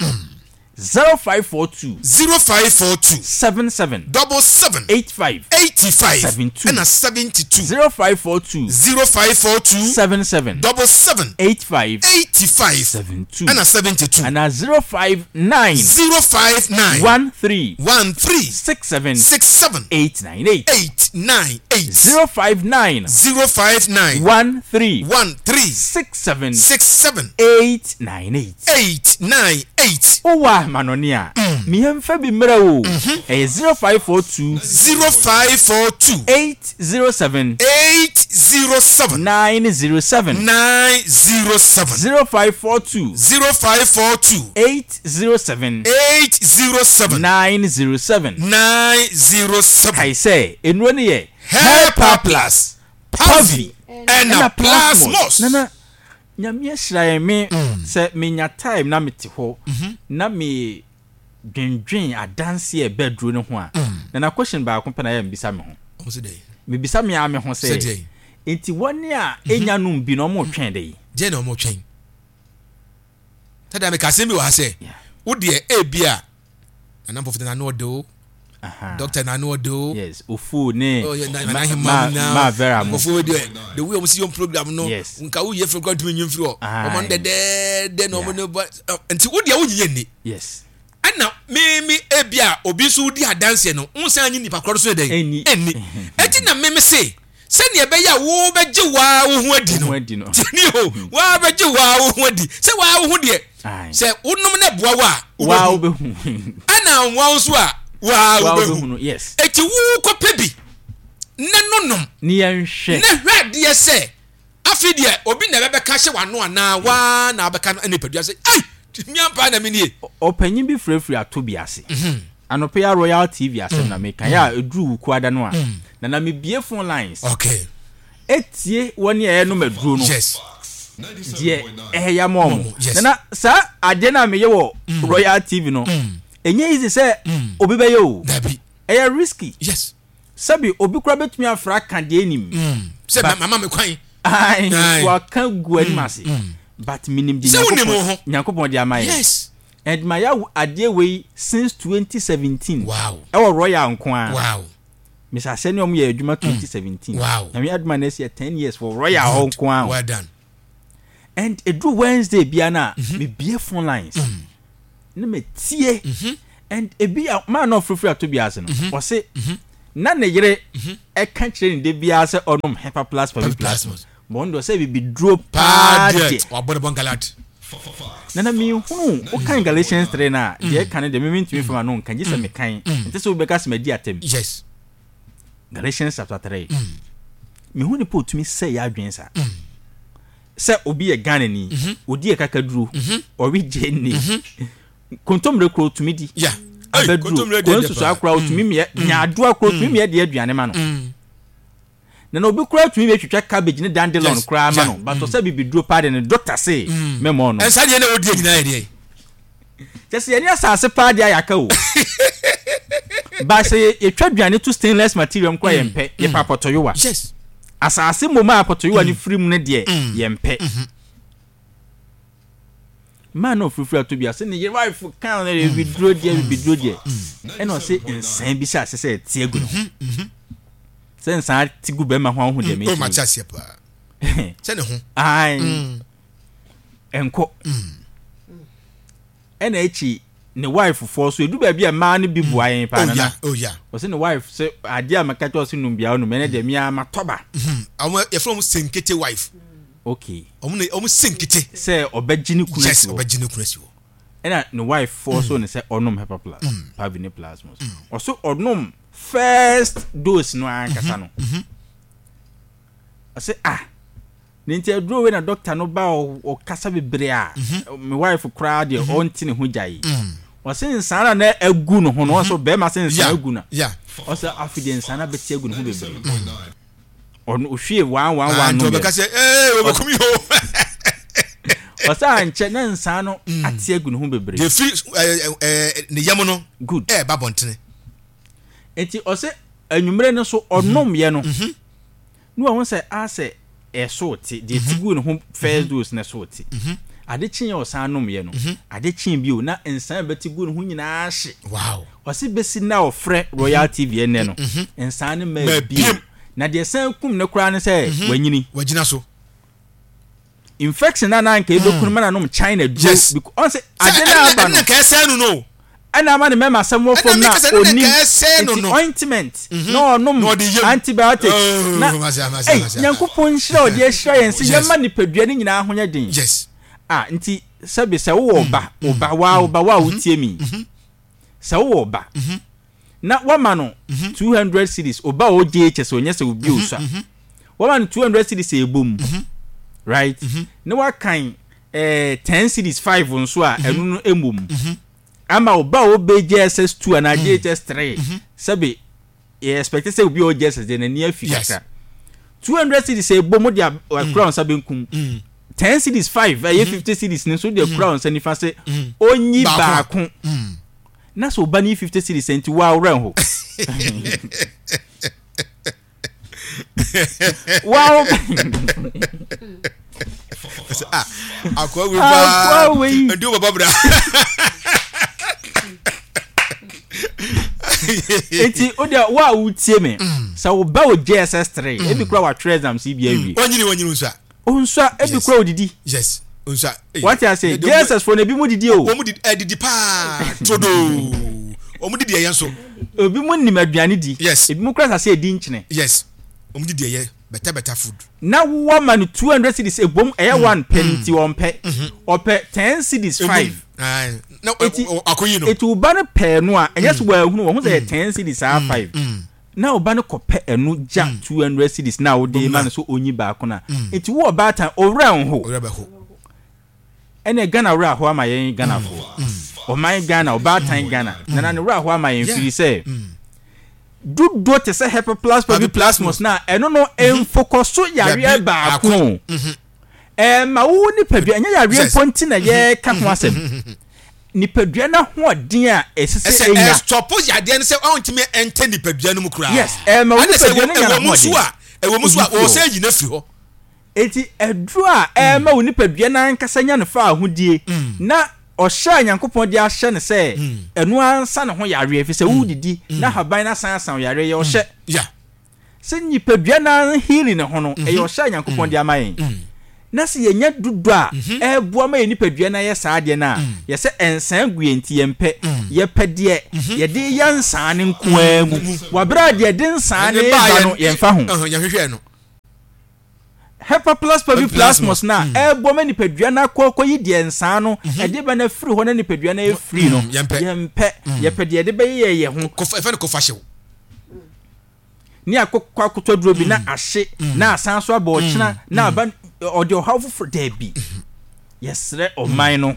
0542. 0542. 77. Double seven. 85. 85. 72. Ɛna 72. 0542. 0542. 77. Double seven. 85. 85. 72. Ɛna 72. Ɛna 059. 059. 13. 13. 67. 67. 898. 898. 059. 059. 13. 13. 67. 67. 898. 8 9 8. Wowɔ amanɔne a, me yɛmfa bi mmrɛ wo o, ɛyɛ 0542. 0542. 807. 807. 907. 907. 0542. 0542. 807. 807. 907. 907. Kae sɛ, nnuro no yɛ. Herpa Plus, Pavi, ɛna Plasmos. Nana, Nyame ahyira yɛn me sɛ me nya time na me te hɔ na me dwendwen adanseɛ a ɛbɛ aduro no ho a na na question baako pɛ na yɛ mbisa me ho me bisa me ara me ho sɛ nti wɔn a enya nom bi na wɔn retwɛn dɛ yi. Deɛ na wɔn retwɛn tada me ka asɛm bi wɔ ha sɛ wo deɛ ebi a Nana Mpɔfo na ano ɔde o. Doctor na ano ɔde o. Yes, Ofu ne oh, yeah, na, ma, ma, ma, ma Vera mo. Nkɔfo deɛ, the way wɔn si yɔn program no, yes. nka wo yɛ fɛ kura ntumi nyi nfiri hɔ. Wɔn ano dɛdɛɛdɛ na wɔn ne ba, nti wo deɛ wo nyi yɛ ni. Yes. Ɛna mímí ebi a obi nso di adanseɛ no, n san nyi nipa korɔ so yɛ dɛ. Ɛnni. Ɛnni. Ɛti na mímí se, sɛnea ɛbɛyɛ a wobɛgye waa wo ho adi no tiɛni o waa bɛgye waa wo ho adi sɛ waa wo ho deɛ sɛ wonom na ɛboa wo a wobɛhu ɛna nwa wo nso a waa wobɛhu eti wo kɔpɛ bi ne nonom ne yɛnhwɛ ne hwɛ adeɛ sɛ afei deɛ obi na ɛbɛbɛka hyɛ w'ano anaa waa na abɛka no nipadua sɛ ei mi ampa na mi nie. Ɔpanyin bi firafira ato bi ase. Mhm. Anɔpa yi a Royal TV asɛm na meka yɛ a ɛduru Wukuada no a mm. na na mebie phone lines. Okay. Etie wɔn a ɛnom aduro no. Yes. Deɛ ɛyɛ ama wɔn. Yes. Nana saa adeɛ no a meyɛ wɔ mm. Royal TV no ɛnyɛ easy sɛ obi bɛyɛ o. Dabi. Ɛyɛ risky. Yes. Sɛbi obi koraa bɛtumi afra aka deɛ ɛnim. Mm. Sɛ mama me kwan. Ayi waka gu anim mm, ase. Mm. But menim de Nyankopɔn Nyankopɔn de ama yɛ. Yes. And ma yɛ adeɛ wei since 2017. Wow. Ɛwɔ Royal nko ara. Wow. Mr. Asɛ ne ɔmo yɛ adwuma 2017. Wow. Nyame aduma na ɛsi yɛ 10 years for Royal hɔ nko ara. Well done. And eduru Wednesday bia na mm -hmm. me bie phone lines. Mm. Na me tie. Mm -hmm. And ebi a maa na ɔfrɛfrɛ ato bi ase no, ɔse na ne yere ɛka kyerɛ ne da biara sɛ ɔnom Hepa Plus Pavi Plasmos. But ɔno deɛ ɔsɛ bibiduro paa deɛ. Wabɔ ne bɔnkalat. Nana menhunu wokan Galatians 3 no a deɛ ɛka no deɛ me mentumi mfa m'ano nka gye sɛ mekan nte sɛ wobɛka sɛ madi atɛm. Yes. Galatians chapter 3. Mehu nipa otumi sɛ yɛ adwene saa. Sɛ obi yɛ Ghanani, odi akakaduro, ɔwe gyeene, kontomire koro otumi di, abɛduro, koro nsusuaa koraa otumi miɛ, nyaadoa koro otumi miɛ de aduane ma no. Na na obi koraa tumi bɛtwitwa cabbage ne dandelion koraa ma no, but ɔsɛ bibiduro paa de ne doctor se mɛmɔ no. Ɛnsa deɛ na ɔdi nyinaa yɛ deɛ. Kyɛ sɛ yɛne asase paa deɛ ayɛ aka o. Ba sɛ yɛtwa aduane to stainless material mu koraa yɛmpɛ, yɛpɛ apɔtɔyowa. Yes. Asase mmom a apɔtɔyowa no firi mu no deɛ yɛmpɛ. Maa na ɔfirifiri ato bi ase ne yere wife kan no bibiduro deɛ bibiduro deɛ ɛna ɔse nsan bi hyɛ ase sɛ ɛte agu ne ho. Sɛ nsan te gu bɛrima ho a wohu deɛ mekyerɛ. Mate aseɛ paa. Sɛ ne ho. Ae. Ɛnkɔ. Ɛna akyi ne wife foɔ so edu baabi a mmaa no bi boa yɛn paa nana. Oh yeah. Ɔsɛ ne wife sɛ adeɛ a mɛka kyerɛ ɔsɛ num biara num ɛnɛ deɛ mea matɔ ba. Wɔn yɛfrɛ wɔn senkete wife. Okay. Wɔn na wɔn senkete. Sɛ ɔbɛgye ne kunu asi hɔ. Yes, ɔbɛgye ne kunu asi hɔ. Ɛna ne wife foɔ so ne sɛ ɔnom hepa plus, pavi ne plasmos. Ɔso ɔnom first dose no ankasa no. Ɔsɛ ah. Ne nti aduro wei na doctor no ba ɔkasa bebree a me wife koraa deɛ ɔnte ne ho gya yi. Ɔse nsaa na na agu ne ho no ɔsɛ bɛrima se nsaa agu na ɔsɛ afi deɛ nsaa na bɛte agu ne ho bebree. Ɔno ohwie one one one no. Ɔbɛka sɛ ee ɔbɛkum yi o. Ɔsɛ ankyɛ na nsaa no ate agu ne ho bebree. Deɛ firi ɛɛ ɛɛ ne yam no. Good. Ɛɛba bɔntene. Nti ɔsɛ anwummerɛ no so ɔnom yɛ no. Na wahu sɛ asɛ ɛso te, deɛ ɛte guu ne ho first dose no ɛso te. Ade kyeeɛ a ɔsan nomyɛ no, ade kyee bio na nsa a ɛbɛte gu ne ho nyinaa ahye. Wow. Ɔse bɛsi nnɛ a ɔfrɛ Royal TV ɛnnɛ no, nsa no mmaa bio. Na deɛ ɛsan kum no koraa ne sɛ wanyini. Wagyina so. Infection a na anka ebeku no ma na nom China duro. Yes. Because ɔn sɛ ade na aba no. Ɛna nka ɛsɛn no no. Ɛna ama ne mɛma asɛm wɔ fam na onim nti ointment mhm. na ɔnom antibiotics oh, na ɛy nyankopɔn nhyira ɔde ahyira yɛn sɛ yɛma nipadua no nyinaa ho nyɛ den. Yes. Ah nti sɛbi sɛ wowɔ ɔba mm. ɔba waa ɔba waa wotie mi mm-hmm. sɛ wowɔ ɔba mm-hmm. na wama no 200 cedis ɔba a ɔwɔ JHS ɔnyɛ sɛ obi osua wama no 200 cedis a ɛbɔ mu right na wakan eh, 10 cedis 5 nso a ɛno no ɛmmɔ mu ama ɔba a ɔbɛ JSS 2 anaa JHS 3 sɛbe yɛ expect sɛ obi a ɔwɔ JSS deɛ n'ani afi kakra 200 cedis a ɛbɔ mu de akura nsa benkum 10 cedis 5 ɛyɛ 50 cedis no nso de akura nsa nifa sɛ ɔnyi baako Na sɛ ɔba no yi 50 cedis a nti woa wo werɛ nho? Woa wo Ah, akoa wei paa. Akoa wei. Nti wo baba bra. Nti o deɛ wo a wotie me sɛ wo ba wɔ JSS 3 ebi kura watwerɛ exams yi bi awie. Wanyini wanyini nso a. Onsua ebi kura odidi. Yes. Onsua. Wate ase JSS fo na ebi mu didi o. Wɔn didi ɛdidi eh, paa trodoo. Wɔn didi ɛyɛ nso. Ebi mu nim aduane di. Yes. Ebi mu kura sase edi nkyene. Yes. Wɔn didi ɛyɛ better better food. Na wowɔ ma no 200 cedis ebom ɛyɛ mm. one pɛ nti mm. ɔmpɛ. Mm-hmm. Ɔpɛ 10 cedis 5. Na akoyi no. Eti wo ba no pɛɛ no a ɛnyɛ so wɔahunu wɔn ho sɛ yɛ 10 cedis saa 5. Na wo ba no kɔpɛ ɛno gya 200 cedis na wode ma no so onyi baako no a, nti wo ɔbaatan owura nho. Owura bɛho. Ɛnɛ Ghana wura aho ama yɛn Ghanafoɔ. Ɔman Ghana, ɔbaatan Ghana, nana ne wura aho ama yɛn firi sɛ dodoɔ te sɛ Herpeplasma polyplasmus no a ɛno no mfokɔso yareɛ baako. Ɛma wo nipadua, ɛnyɛ yareɛ mpo nti na yɛreka ho asɛm. Nipadua no ahoɔden a ɛsɛ sɛ ɛnya. Ɛsɛ ɛstɔpo yadeɛ no sɛ ɔntumi ɛntɛ nipadua no mu koraa. Yes, ɛma wo nipadua no nya n'ahoɔden. Ɛwɔ mu so a, wɔwɔ sɛ ɛyi no afiri hɔ. Enti aduro a ɛma wo nipadua no ankasa nya ne fawohodie na ɔhyɛ a Nyankopɔn de ahyɛ no sɛ ɛno ara nsa ne ho yareɛ, ɛfiri sɛ wodidi na haban no asan asa wo yareɛ, ɛyɛ ɔhyɛ. Sɛ nipadua no ara healing ne ho no, ɛyɛ ɔhyɛ a Nyankopɔn de ama yɛn. Na sɛ yɛnya dodɔ a ɛreboa ma yɛn nipadua no ayɛ saa adeɛ no a, yɛ sɛ nsaa gu yɛn nti yɛmpɛ. Yɛpɛ deɛ yɛde reyɛ nsaa no nko ara mu. Wɔ berɛ a deɛ ɛde nsaa no reba no, yɛmfa ho. Hepaplus paviplasmus no a ɛreboa ma nipadua no akɔ akɔyi deɛ nsaa no ɛde ba no afiri hɔ na nipadua no ayɛ free no, yɛmpɛ. Yɛpɛ deɛ yɛde bɛyɛ yɛn ho. Yɛfrɛ no kofahyew. Ne akokɔ akotɔ duro bi na ahye na asan so aba ɔkyena na aba ɔde ɔhaw foforɔ daabi. Yɛsrɛ ɔman no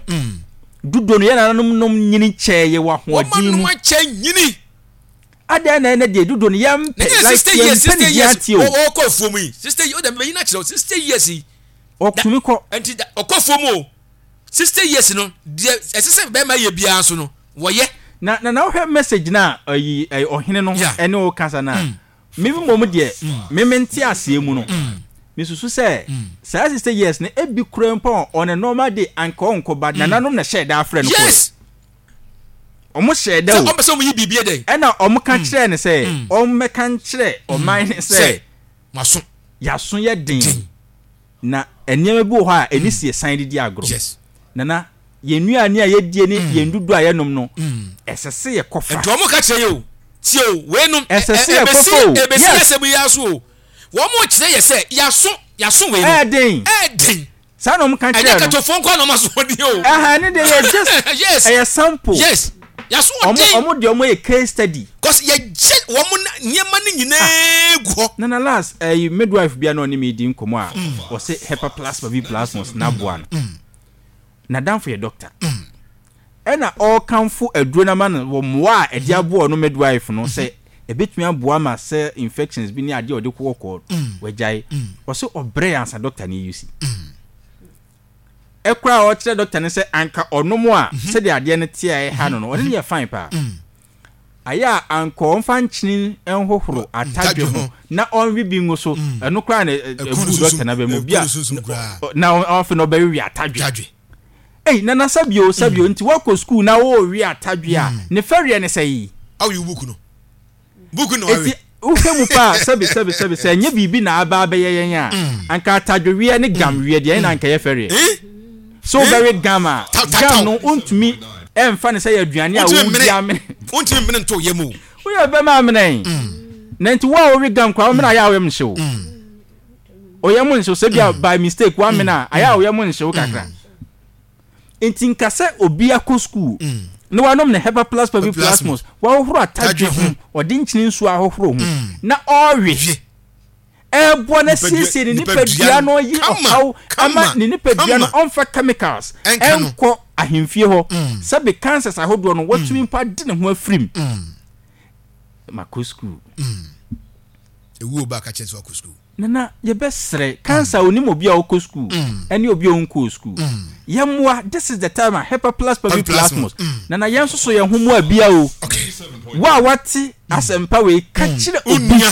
dodo no yɛn nananom nom nyini kyɛɛ yɛ wɔ ahoɔden mu. Wɔn akyɛ nyini. Adɛn na ɛnɛ deɛ dodo no yɛmpɛ like yɛmpɛ ne din ate o. Ɔkɔ afuom yi 60 years ɔdɛ mɛyi no akyerɛ 60 years yi. Ɔtumi kɔ. Nti ɔkɔ afuom o 60 years no deɛ ɛsɛ sɛ bɛrima yɛ biara nso no wɔyɛ. Na na na wohwɛ message no a ayi ɛyi ɔhene no ɛne wo kasa no a me mmom deɛ me me nte aseɛ mu no me susu sɛ saa 60 years no ebi kura mpo a on a normal day anka ɔnkɔ but nananom na hyɛɛ da afrɛ no kɔɛ. Yes. Ɔmo hyɛɛ da Sɛ o. ɔmpɛ sɛ ɔmo yi biribi yɛ dɛn. Ɛna ɔmo ka kyerɛɛ no sɛ ɔmmɛka nkyerɛ ɔman no sɛ Sɛ moaso. Y'aso yɛ den. Den. Na nneɛma bi wɔ hɔ a ɛni si yɛsan de di agorɔ. Yes. Nana, yɛn nnuane a yɛdie ne yɛn dudu a yɛnom no, ɛsɛ sɛ yɛkɔfa. Nti wɔn ka kyerɛ yɛ o, tie o, wei nom, Ɛsɛ sɛ yɛkɔfa o, ɛbɛsi yes. asɛm yi ara so o. Wɔn kyerɛ yɛ sɛ yaso, yaso wei no. Ɛyɛ den. Ɛyɛ den. Saa na wɔn ka kyerɛ Ɛnyɛ no. katofoɔ nko ara na wɔn aso ɔden o. Ɛha ne deɛ yɛ just, Yes. ɛyɛ sample. Yes. Yaso Wɔn, ɔden. wɔn deɛ wɔn yɛ case study. Cause yɛgye wɔn nneɛma no nyinaa gu hɔ. Nana last ɛyi midwife bi a na ɔne me di nkɔmɔ a ɔse hepaplasma bi plasmos na aboa no. N'adamfo yɛ doctor. Ɛna ɔrekamfo aduro no ama no wɔ mmoa a ɛde aboa ɔno midwife no sɛ ɛbɛtumi aboa ma sɛ infections bi ne adeɛ a ɔde kɔkɔɔ wagyae. Ɔse ɔbrɛ ansa doctor no use. Ɛkora a ɔkyerɛ doctor no sɛ anka ɔnom a sɛdeɛ adeɛ no te a ɛha no no ɔne no yɛ fine paa. Ayɛ a anka ɔmfa nkyene nhohoro atadwe ho na ɔnwe bi ngu so, ɛno koraa na ɛgu dɔkta no aba mu bi a na afei na ɔbɛwewe atadwe. Ei, nana sɛbio sɛbio nti woakɔ sukuu na worewe atadwe a, ne fɛreɛ ne sɛi? Awo buku no. Buku no awe. Eti wohwɛ mu paa sɛbi sɛbi sɛbi sɛ ɛnyɛ biribi na aba abɛyɛ yɛn a, anka atadweweɛ ne gamweɛ deɛ ɛna anka ɛyɛ fɛreɛ. Sɛ wobɛwe gam a, gam no wontumi ɛmfa no sɛ yɛ aduane a wodi amene. Wontumi mmene nto yam o. Woyɛ bɛma amene. Na nti wo a wowe gam koraa womene ayɛ a woyam nhye wo. Oyam nhye wo sɛ bia by mistake woamene a ayɛ a woyam nhye wo kakra. Nti nka sɛ obi akɔ sukuu na wanom ne Hepa Plus Pavi Plasmos, wahohoro atadwe ho, ɔde nkyene nsuo ahohoro ho na ɔrewe. Ɛreboa no asiesie ne nipadua no ayi ɔhaw ama ne nipadua no ɔmfa chemicals ɛnkɔ ahemfie hɔ sɛbe cancers ahodoɔ no watumi mpo ade ne ho afirim. Makɔ sukuu. Ewuo ba ka kyerɛ sɛ wakɔ sukuu. Nana yɛbɛsrɛ cancer onim obi a ɔkɔ sukuu ɛne obi a ɔnkɔɔ sukuu yɛmmoa this is the time a hepa plus pavi plasmos nana yɛn nso so yɛn ho mmoa bia o wo a wate asɛmpa wei ka kyerɛ obi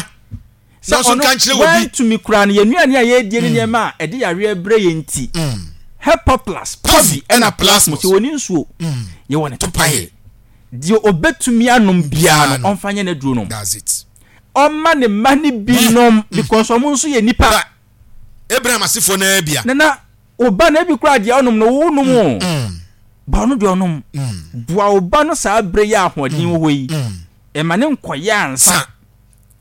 Sɛ ɔno wantumi koraa no, yɛn nnuane a yɛredie ne nneɛma a ɛde yareɛ brɛ yɛn nti, Hepaplus, Pavi ɛna Plasmos, yɛwɔ ne nsuo, yɛwɔ ne topaeɛ. Deɛ ɔbɛtumi anom biara no, ɔmfa nyɛ n'aduro nom. Ɔmma ne mma no bi nom because wɔn nso yɛ nnipa. Abraham asefoɔ no ara bia. Nana, wo ba no ebi koraa deɛ ɔnom no, wo nom o. Ba ɔno deɛ ɔnom. Boa wo ba no saa berɛ yi a ahoɔden wɔ hɔ yi. Ɛma ne nkɔyɛ ansa.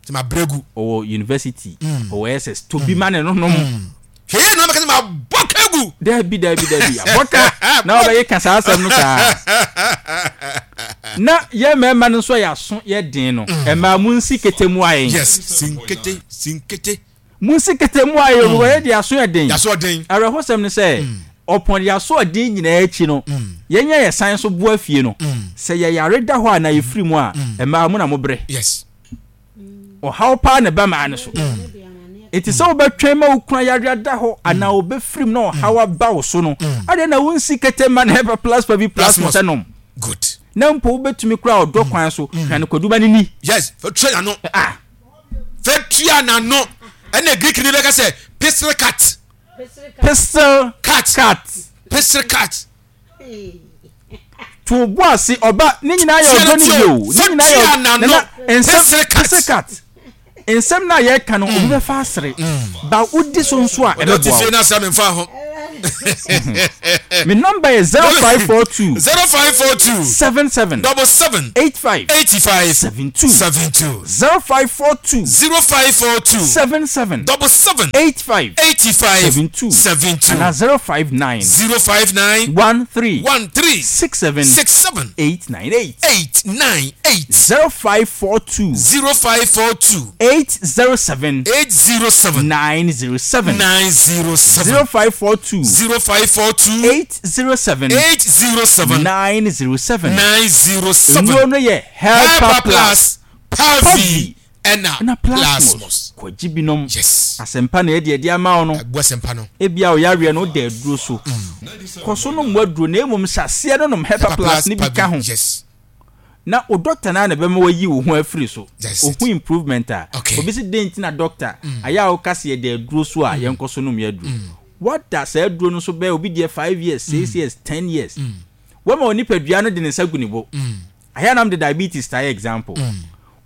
Sɛ ma brɛ gu. Ɔwɔ university, ɔwɔ SS, to bi ma ne no nom. Hwɛ yɛ na ɔbɛka sɛ ma bɔ ka gu. Dabi dabi dabi, abɔ ka na ɔbɛyɛ ka saa asɛm no saa. Na yɛ mmarima no nso a yɛaso yɛ den no, mmaa mu nsi kete mu ayɛ. Yes, sinkete, sinkete. Munsi kete mu ayɛ mm. Wɔyɛ de aso yɛ den. Yaso den. Awerɛhosɛm ne sɛ, ɔpɔn de aso ɔden nyinaa akyi no, yɛn a yɛsan so boa fie no, sɛ yɛyare da hɔ a na yɛfiri mu a, mmaa mo na mobrɛ. Yes. Ɔhaw paa na ɛba mmaa no so. Enti sɛ wobɛtwɛn ma wo kunu ayare ada hɔ anaa ɔbɛfiri mu na ɔhaw aba wo so no, adɛn na wonsi kete ma no hepa plasma bi plasma sɛ nom? Good. Na mpo wobɛtumi koraa ɔdɔ kwan so hwɛ no kwadu ma no ni. Yes, fa tua n'ano. Ah. Fa tua n'ano. Ɛna Greek ni bɛka sɛ pistil cut. Pistil cut. Cut. Pistil cut. To bo ase ɔba ne nyinaa yɛ ɔdɔ ne bi o. Ne nyinaa yɛ ɔdɔ. Nana nsɛm pistil cut. Nsɛm no a yɛreka no, obi bɛfa asere, ba wodi so nso a, ɛbɛboa wo. Me nɔmba yɛ 0542 0542 77 77 85 85 72 72 0542 0542 77 77 85 85 72 72 anaa 059 059 13 13 67 67 898 898 0542 0542 807 807 907 907 0542 0542 807 807 907 907 Nnuro no yɛ Helper Helper Plus Plus, Pavi Pavi ɛna ɛna Plasmos. Plasmos. Kɔgye binom. Yes. Asɛmpa na yɛde adi ama wo no. Abu asɛmpa no. Ebia wo yareɛ no woda aduro so. Kɔ so nom w'aduro na mmom hyɛ aseɛ no nom Helper Helper Plus Plus no bi ka Pavi. ho. Yes. Na wo doctor no ara na ɛbɛma wayi wo ho afiri so. That's it. Ohu improvement a. Okay. Obi se dɛn nti na doctor ayɛ a woka se yɛda aduro so a yɛnkɔ so nom yɛn aduro. Woada saa aduro no so bɛyɛ obi deɛ 5 years, 6 years, 10 years. Woama wo nipadua no de ne nsa gu ne bo. Ayɛ a na mede diabetes taa yɛ example.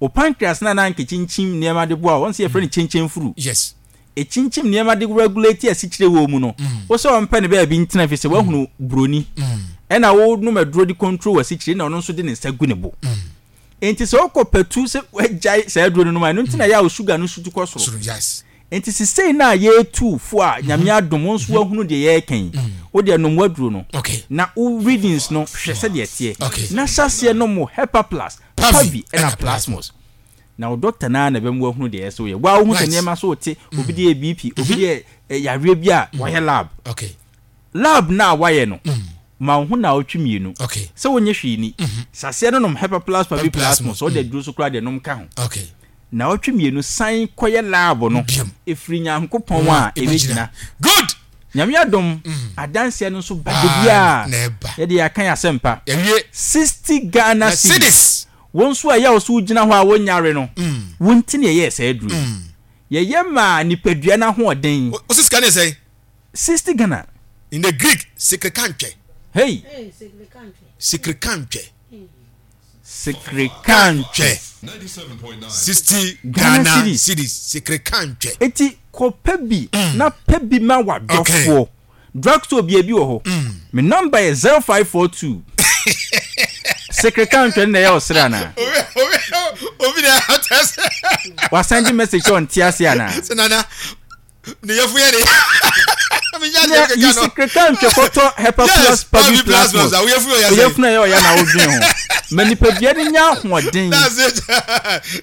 Wo pancreas no a na anka ɛkyinkyim nneɛma de boa wo, wɔn sɛ yɛfrɛ no kyenkyenfuru. Yes. Ɛkyinkyim nneɛma de regulate asikyire wɔ mu no, wo sɛ ɔmpɛ ne baabi ntena ɛfiri sɛ woahunu buroni. Ɛna wonom aduro de control w'asikyire na ɔno nso de ne nsa gu ne bo. Enti sɛ wokɔ patu sɛ woagyae saa aduro no nom a, ɛno nti na ɛyɛ a wo sugar no sutu kɔ soro. Soro, yes. Enti sesei no a yɛretu fo a Nyame adom wo nso woahunu deɛ yɛreka yi, wo deɛ nom w'aduro no na wo readings no hwɛ sɛdeɛ ɛteɛ na hyɛ aseɛ nom wo Hepa Plus, Pavi ɛna Plasmos. Na wo doctor no ara na ɛbɛma woahunu deɛ ɛyɛ sɛ woyɛ. Wo ara wohu sɛ nneɛma so rete, obi deɛ yɛ BP, obi deɛ yɛ yareɛ bi a wayɛ lab. Lab no a wayɛ no, ma wo ho naawɔtwe mmienu sɛ wonyɛ hwee ni. Hyɛ aseɛ no nom Hepa Plus, Pavi, Plasmos, sɛ wode aduro so koraa deɛ nom ka ho. Naawɔtwe mmienu san kɔyɛ lab no ɛfiri Nyankopɔn a ɛbɛgyina. Good. Nyame adom adanseɛ no nso ba da biara yɛde yɛaka yɛn asɛmpa. 60 Ghana cedis. Wo nso a ɛyɛ wo sɛ wogyina hɔ a wonyare no, wo nti na yɛyɛɛ saa aduro yi. Yɛyɛ maa nipadua no ahoɔden. Wo se sika no yɛ sɛn? 60 Ghana. In the Greek, sekrekantwɛ. Hey. Sekrekantwɛ. Sekrekantwɛ. 60 Ghana cedis. Sekrekantwɛ. Eti kɔpɛ bi na pɛ bi ma w'adɔfoɔ. Drugstore bia bi wɔ hɔ. Me number yɛ 0542. Sekrekantwɛ no na ɛyɛ ɔsere anaa? Obi na ɛha sɛ. Wasan de message sɛ ɔnte ase anaa? Sɛ nana. Ne yɛfo yɛ de. Na yi sekreta ntwɛ kɔtɔ hepa plus pavi plasmos. Oyɛfunu ɛyɛ ɔya na wodwen ho. Ma nipadua no nya ahoɔden.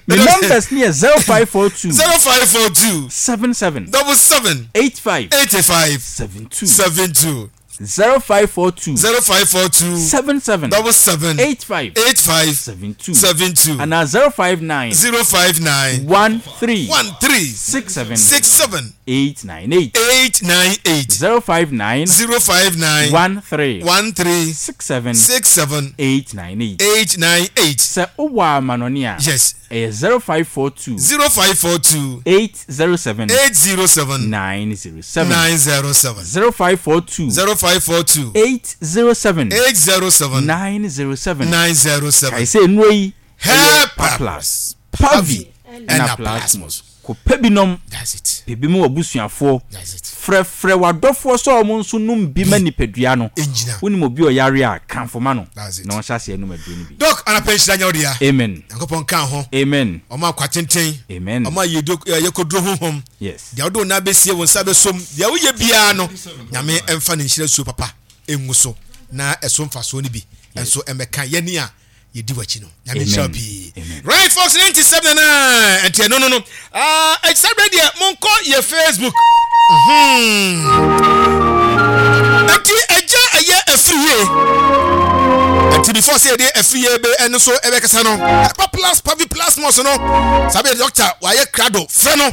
Me numbers ne yɛ 0542. 0542. 77. 77. 85. 85. 72. 72. 0542. 0542. 77. 77. 85. 85. 72. 72. Anaa 059. 059. 13. 13. 67. 67. 898. 898. 059. 059. 13. 13. 67. 67. 898. 898. Sɛ wowɔ amanɔne a. Yes. Ɛyɛ 0542. 0542. 807. 807. 907. 907. 0542. 0542. 807. 807. 907. 907. Kae sɛ nnuro yi ɛyɛ Hepa Plus, Pavi ɛna Plasmos. Kɔ pɛ bi nom. That's it. Pɛ bi ma w'abusuafoɔ. That's it. Frɛfrɛ w'adɔfoɔ sɛ wɔn nso nom bi ma nipadua no. Ɛngyina. Wonim obi a ɔyare a, kamfo ma no That's it. na ɔnhyɛ aseɛ nnom aduro no bi. Doc, anapa nhyira nyɛ wo dea. Amen. Nyankopɔn nka wo ho. Amen. Ɔma akwa tenten. Amen. Ɔma yiedie eh, yɛkɔduro honhom. Yes. Deɛ wode wo nan bɛsie, wo nsa bɛsom, deɛ woyɛ biara no, Nyame mfa ne nhyira suo papa ngu so na ɛso mfasoɔ no bi nso mmɛka yɛne a yɛdi w'akyi no. Nyame nhyira wo pii. Right folks, 97 na ɛnti ɛno no no. Ah, ɛkyɛ berɛ deɛ monkɔ yɛ Facebook. Ɛnti ɛgya ɛyɛ afiri yie. Ɛnti before sɛ yɛde afiri yie bɛ ɛno so ɛbɛkasa no. Ɛpa plus pavi plus mɔs no. Saa bɛ doctor wayɛ krado frɛ no.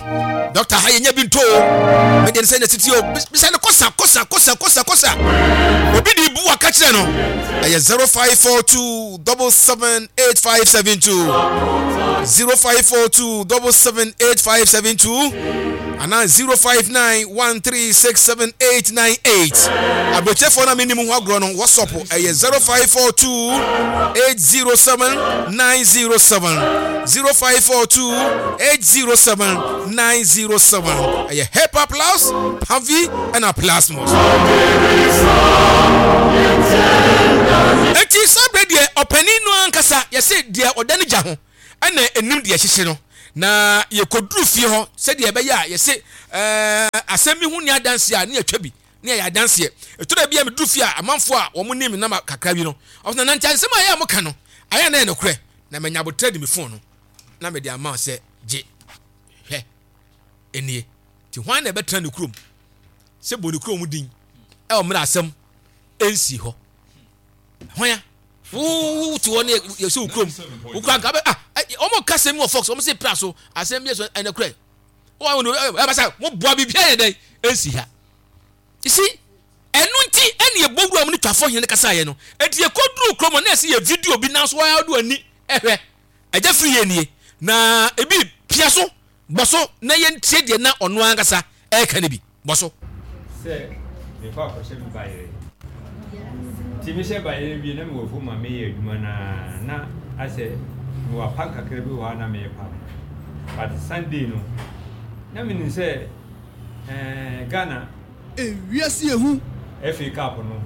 Dɔkta ha yɛnya bi nto o. Me deɛ sɛ na titi o. Bisa no kosa kosa kosa kosa kosa. Obi de bu aka kyerɛ no. Ɛyɛ 0542 778572 0542 778572 anaa 0591367898. Aburokyerɛfoɔ no a mennim ho agorɔ no WhatsApp ɛyɛ 0542 807 907 0542 807 907. Ɛyɛ Hepa Plus, Pavi ɛna Plasmos. Eti saa berɛ deɛ ɔpanin no ankasa yɛse deɛ ɔda ne gya ho ɛna ɛnim deɛ ɛhyehye no. Na yɛkɔduru fie hɔ sɛdeɛ ɛbɛyɛ a yɛse ɛɛ asɛm bi ho nni adanseɛ a ne yɛtwa bi ne yɛyɛ adanseɛ. Ɛtɔ da bi a meduru fie a amanfoɔ a wɔn nim me nama kakra bi no ɔsɛ na nante asɛm a ɛyɛ a moka no ayɛ a na ɛyɛ nokorɛ na manya aboterɛ de me fon no na mede ama wo sɛ gye hwɛ nie. Nti hwan na ɛbɛtena ne kurom sɛ bɔ ne kurom din ɛwɔ mmerɛ asɛm ɛnsii hɔ? Hwan a? Wo te hɔ ne yɛsɛ wo kurom wo kura nka bɛ ah wɔn ka asɛm wɔ fox wɔn se pra so asɛm bi so ɛnɛ korɛ wɔn wɔn ɛbɛ sɛ mo boa biribi ayɛ dɛn ɛnsi ha you see ɛno nti ɛne ɛbɔ wura mu ne twafo hene kasa yɛ no ɛnti yɛkɔduru kurom na ɛsɛ yɛ video bi nanso wɔn ado ani ɛhwɛ ɛgya firi yɛ nie na ebi pia so Bɔ so na yɛntie deɛ na ɔno ankasa reka no bi. Bɔ so. Sɛ mekɔ akɔhyɛ me bayerɛ. Nti mehyɛ bayerɛ wie na mewɔ afuom a meyɛ adwuma no ara na asɛ mewɔ apam kakra bi wɔ hɔ a na mepam. But Sunday no na menim sɛ eh, Ghana. Ewiase yɛ hu. FA Cup no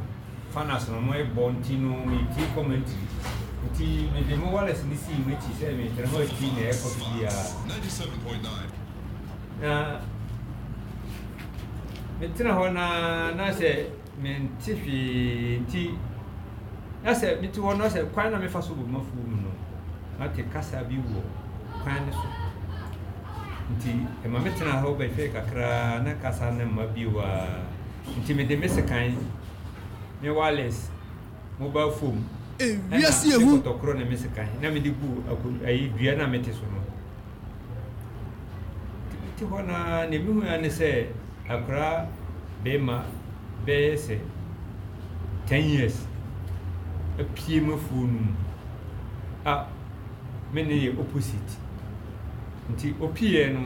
finals no wɔn bɔ nti no me tie commentary nti me de mo wireless no sii m'akyi sɛ me tena hɔ atie nea ɛkɔ so biara na me tena hɔ na na sɛ me nte hwee nti na sɛ me te hɔ na sɛ kwan na mefa so wɔ mafuo mu no na te kasa bi wɔ kwan no so. Nti ɛma metenaa hɔ bɛhwɛɛ kakra na kasa no mma bio a. Nti mede me sekan, me wireless, mobile phone, ɛna Ewiase me ehu. kɔtɔkorɔ ne me sekan na mede guu ako ayi dua no a mete so no. Nti mete hɔ no ara nea mehui ara ne sɛ akwadaa barima bɛyɛ sɛ 10 years apue m'afuo no mu a me ne yɛ opposite. Nti opiiɛ no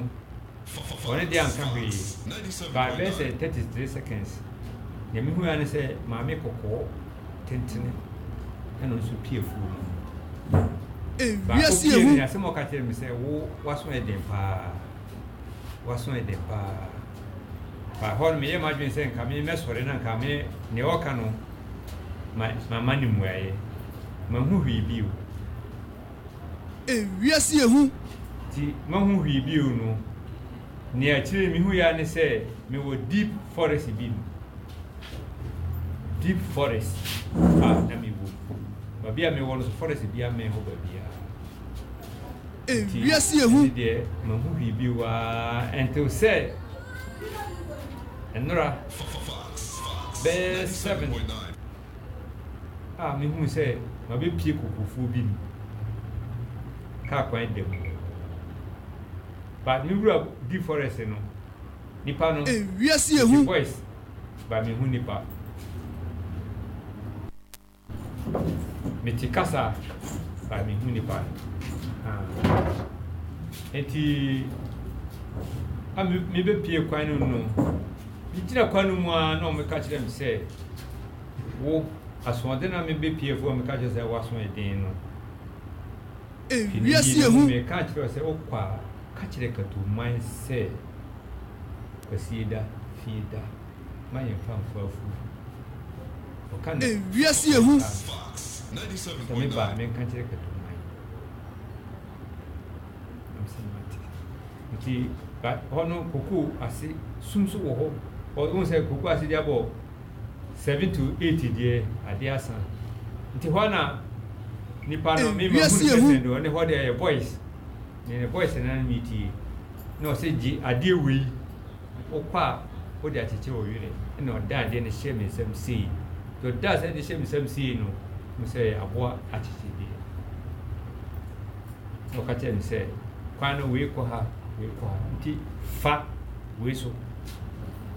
ɔno deɛ anka hwee but bɛyɛ sɛ 33 seconds deɛ mehu ara ne sɛ maame kɔkɔɔ tentene ɛna nso pie afuo no mu. Baako pie no asɛm a ɔka kyerɛ me sɛ wo waso yɛ den paa waso yɛ den paa ba hɔ no meyɛ m'adwene sɛ nka me mɛsɔre na nka me nea ɔka no ma mama ne mmuaeɛ manhu hwee bio. Ewiase yɛ hu. Nti mahu hwee bio no, nea akyire yi mehui ara ne sɛ mewɔ deep forest bi mu. Deep forest a na mewɔ mu. Baabi a mewɔ no so forest biara mmɛn hɔ baabiara. Nti Ewiase yɛ hu. ɛno deɛ mahu hwee bio ara until sɛ nnora bɛyɛ 7. a mehuu sɛ mabɛpue kokofuo bi mu, kaa kwan da mu. But me wura di forest no, nipa no, Ewiase yɛ mete hu. voice but mehu nipa. Mete kasa but mehu nipa no. Ah. Nti, a mebɛpue kwan no mu no, megyina kwan no mu ara na wɔka kyerɛ me sɛ, Wo, asoɔden a mebepue afuo a meka kyerɛ sɛ w'aso yɛ den no, fi ne Ewiase yie yɛ no mu hu. meka kyerɛ wo sɛ wokɔ a, ka kyerɛ Katuman sɛ Kwasieda, Fieda, ma yɛmfa mfa afuo. Ɔka no Ewiase yɛ hu. saa no, sɛ meba a menka nkyerɛ Katuman. Na mesɛ mate. Nti, ba hɔ no kokoo ase sum so wɔ hɔ. Wohu sɛ kokoo ase de abɔ 7 to 8 deɛ adeɛ asa nti hɔ na nipa no me ma hunu sɛ sɛn ɔne hɔ deɛ ɛyɛ voice ne ne voice na ne metie na ɔsɛ gye adeɛ wei wokɔ a wode akyekyere wo werɛ ɛna ɔda adeɛ no hyɛ me nsam sei nti ɔda sɛ de hyɛ me nsam sei no mo sɛ aboa akyekyedeɛ na ɔka kyerɛ me sɛ kwan no wei kɔ ha. Wei kɔ ha. Nti fa wei so.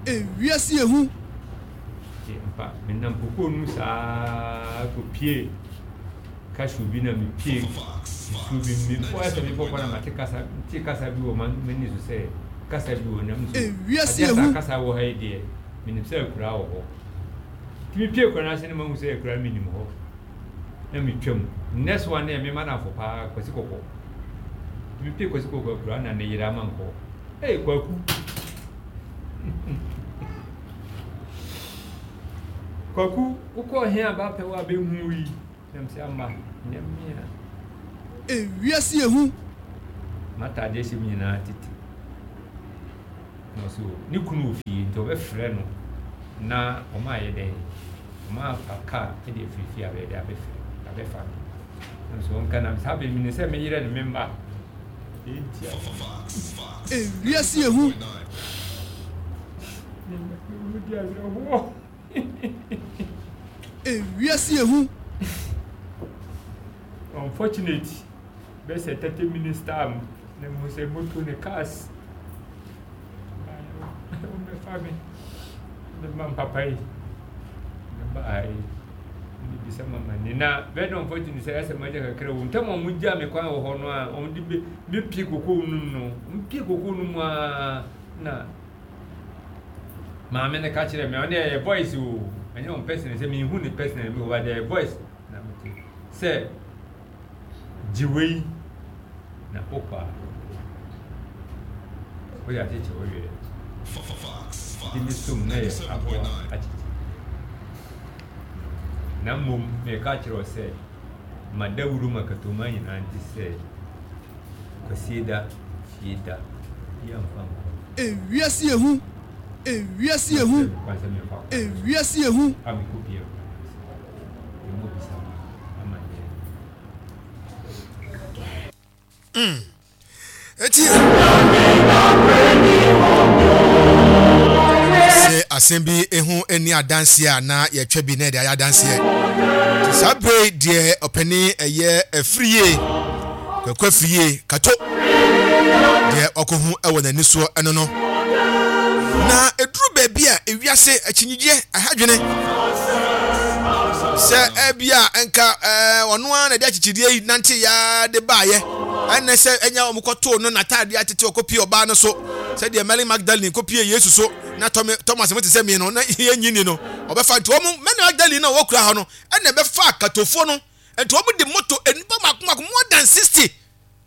Ewiase yɛ hu. Nti ampa menam kokoo no mu saa kɔpie cashew bi na mepie nsuo bi mu. Mekɔ ayɛ sɛ mebɔ kɔ na mate kasa, mete kasa bi wɔ m'ani so sɛ kasa bi wɔ nam so. Ewiase Adeɛ yɛ saa hu. kasa wɔ ha yi deɛ, menim sɛ akuraa wɔ hɔ. Nti mepie kura no ase no mahu sɛ akuraa no menim hɔ. Na metwam. Next one no yɛ me madamfo paa Kwasi Kɔkɔ. Nti mepie Kwasi Kɔkɔ akuraa na ne yere ama nkɔ. Hey Kwaku! Kwaku, wokɔɔ he a bɛapɛ wo a bɛnhu wo yi? Na mese ama, nyɛ me a. Ewiase yɛ hu. M'ataadeɛ hyɛ mu nyinaa tete. Na ɔse o, ne kunu wɔ fie nti ɔbɛfrɛ no na ɔma ayɛ dɛn? Ɔma afa kaa de afiri fie abɛyɛ dɛn abɛfrɛ abɛfa me. Na mese ɔnka na saa bere menim sɛ me yerɛ ne me mma. Enti a. Ewiase yɛ hu. Me mma di awerɛhoɔ. Ewiase yɛ hu. Unfortunate bɛyɛ sɛ 30 minutes time na mehu sɛ moto ne cars wɔbɛfa me ne ma papa yi ne ba ha yi ne bisa mama ni na very unfortunate sɛ ɛsɛ magya kakra wɔ ntam a wɔgya me kwan wɔ hɔ no a wɔde bɛ bɛpie kokoo no mu no wɔpie kokoo no mu a na maame no ka kyerɛ me ɔne ɛyɛ voice o ɛnyɛ wɔn personal sɛ mehu ne personal mi wɔ ba ɛyɛ voice na mete sɛ gye wei na wokɔ a wode akyekye wo werɛ nti me som na yɛ aboa akyekye na mmom meka kyerɛ wo sɛ ma dawuro ma katoma nyinaa nte sɛ Kwasieda Fieda yɛmfa nkɔ. Ewiase yɛ hu, ewiase yɛ hu, ewiase yɛ hu. A mekɔ pie akura no ase. Yɛmmɔ bisa ma amanneɛ. Mm. Eti. Sɛ asɛm bi ho nni adanseɛ a na yɛtwa bi na yɛde ayɛ adanseɛ. Nti saa bere yi deɛ ɔpanin ɛyɛ afiri yie, Kwaku afiri yie, kato deɛ ɔkɔhu wɔ n'ani soɔ ɛno no. Na ɛduru baabi a ewiase akyinnyegyeɛ ɛha dwene sɛ ɛbi a nka ɔno ara na ɛde akyekyedeɛ yi nante ya de baayɛ ɛnɛ sɛ ɛnya wɔn kɔtoo no n'ataadeɛ atete ɔkɔpie ɔbaa no so sɛdeɛ Mary Magdalene kɔpie Yesu so na Thomas mo te sɛ me no na yɛnyi ni no ɔbɛfa nti wɔn Mary Magdalene na wɔkura hɔ no ɛna ɛbɛfa katofoɔ no nti wɔn de moto nnipa mako mako more than 60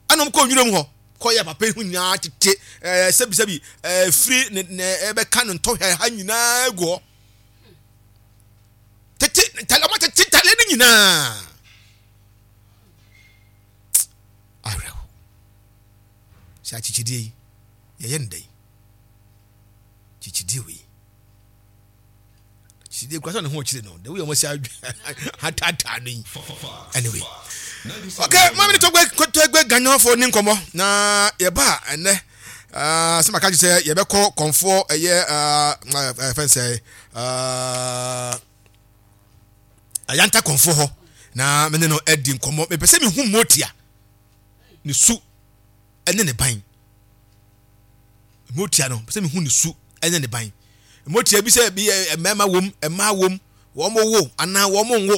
ɛna wɔn kɔ nwura mu hɔ kɔyɛ papa yi ho nyinaa tete ɛɛ sɛbisɛbi ɛɛ firi ne ne ɛbɛka ne ntɔhwɛ ha nyinaa gu hɔ tete ntale wɔn tete ntale no nyinaa awerɛho sɛ akyekyedeɛ yi yɛyɛ no dɛn kyekyedeɛ wei kyekyedeɛ kura sɛ ne ho kyerɛ no the way wɔn si ataataa no yi anyway okay maame ne tɔgbɛ tɔgbɛ ganyɔfoɔ ne nkɔmɔ na yɛba ɛnɛ ah, sɛ maka kyerɛ sɛ yɛbɛkɔ kɔnfoɔ ɛyɛ ah, eh, fɛn sɛ ah, ayanta kɔnfoɔ hɔ na me ne no adi nkɔmmɔ mepɛ sɛ mehu motia ne su ne ne ban motia no pɛ sɛ mehu ne su ne ne ban motia bi sɛ bi mmarima wom mmaa wom wɔn wo anaa wɔn nwo.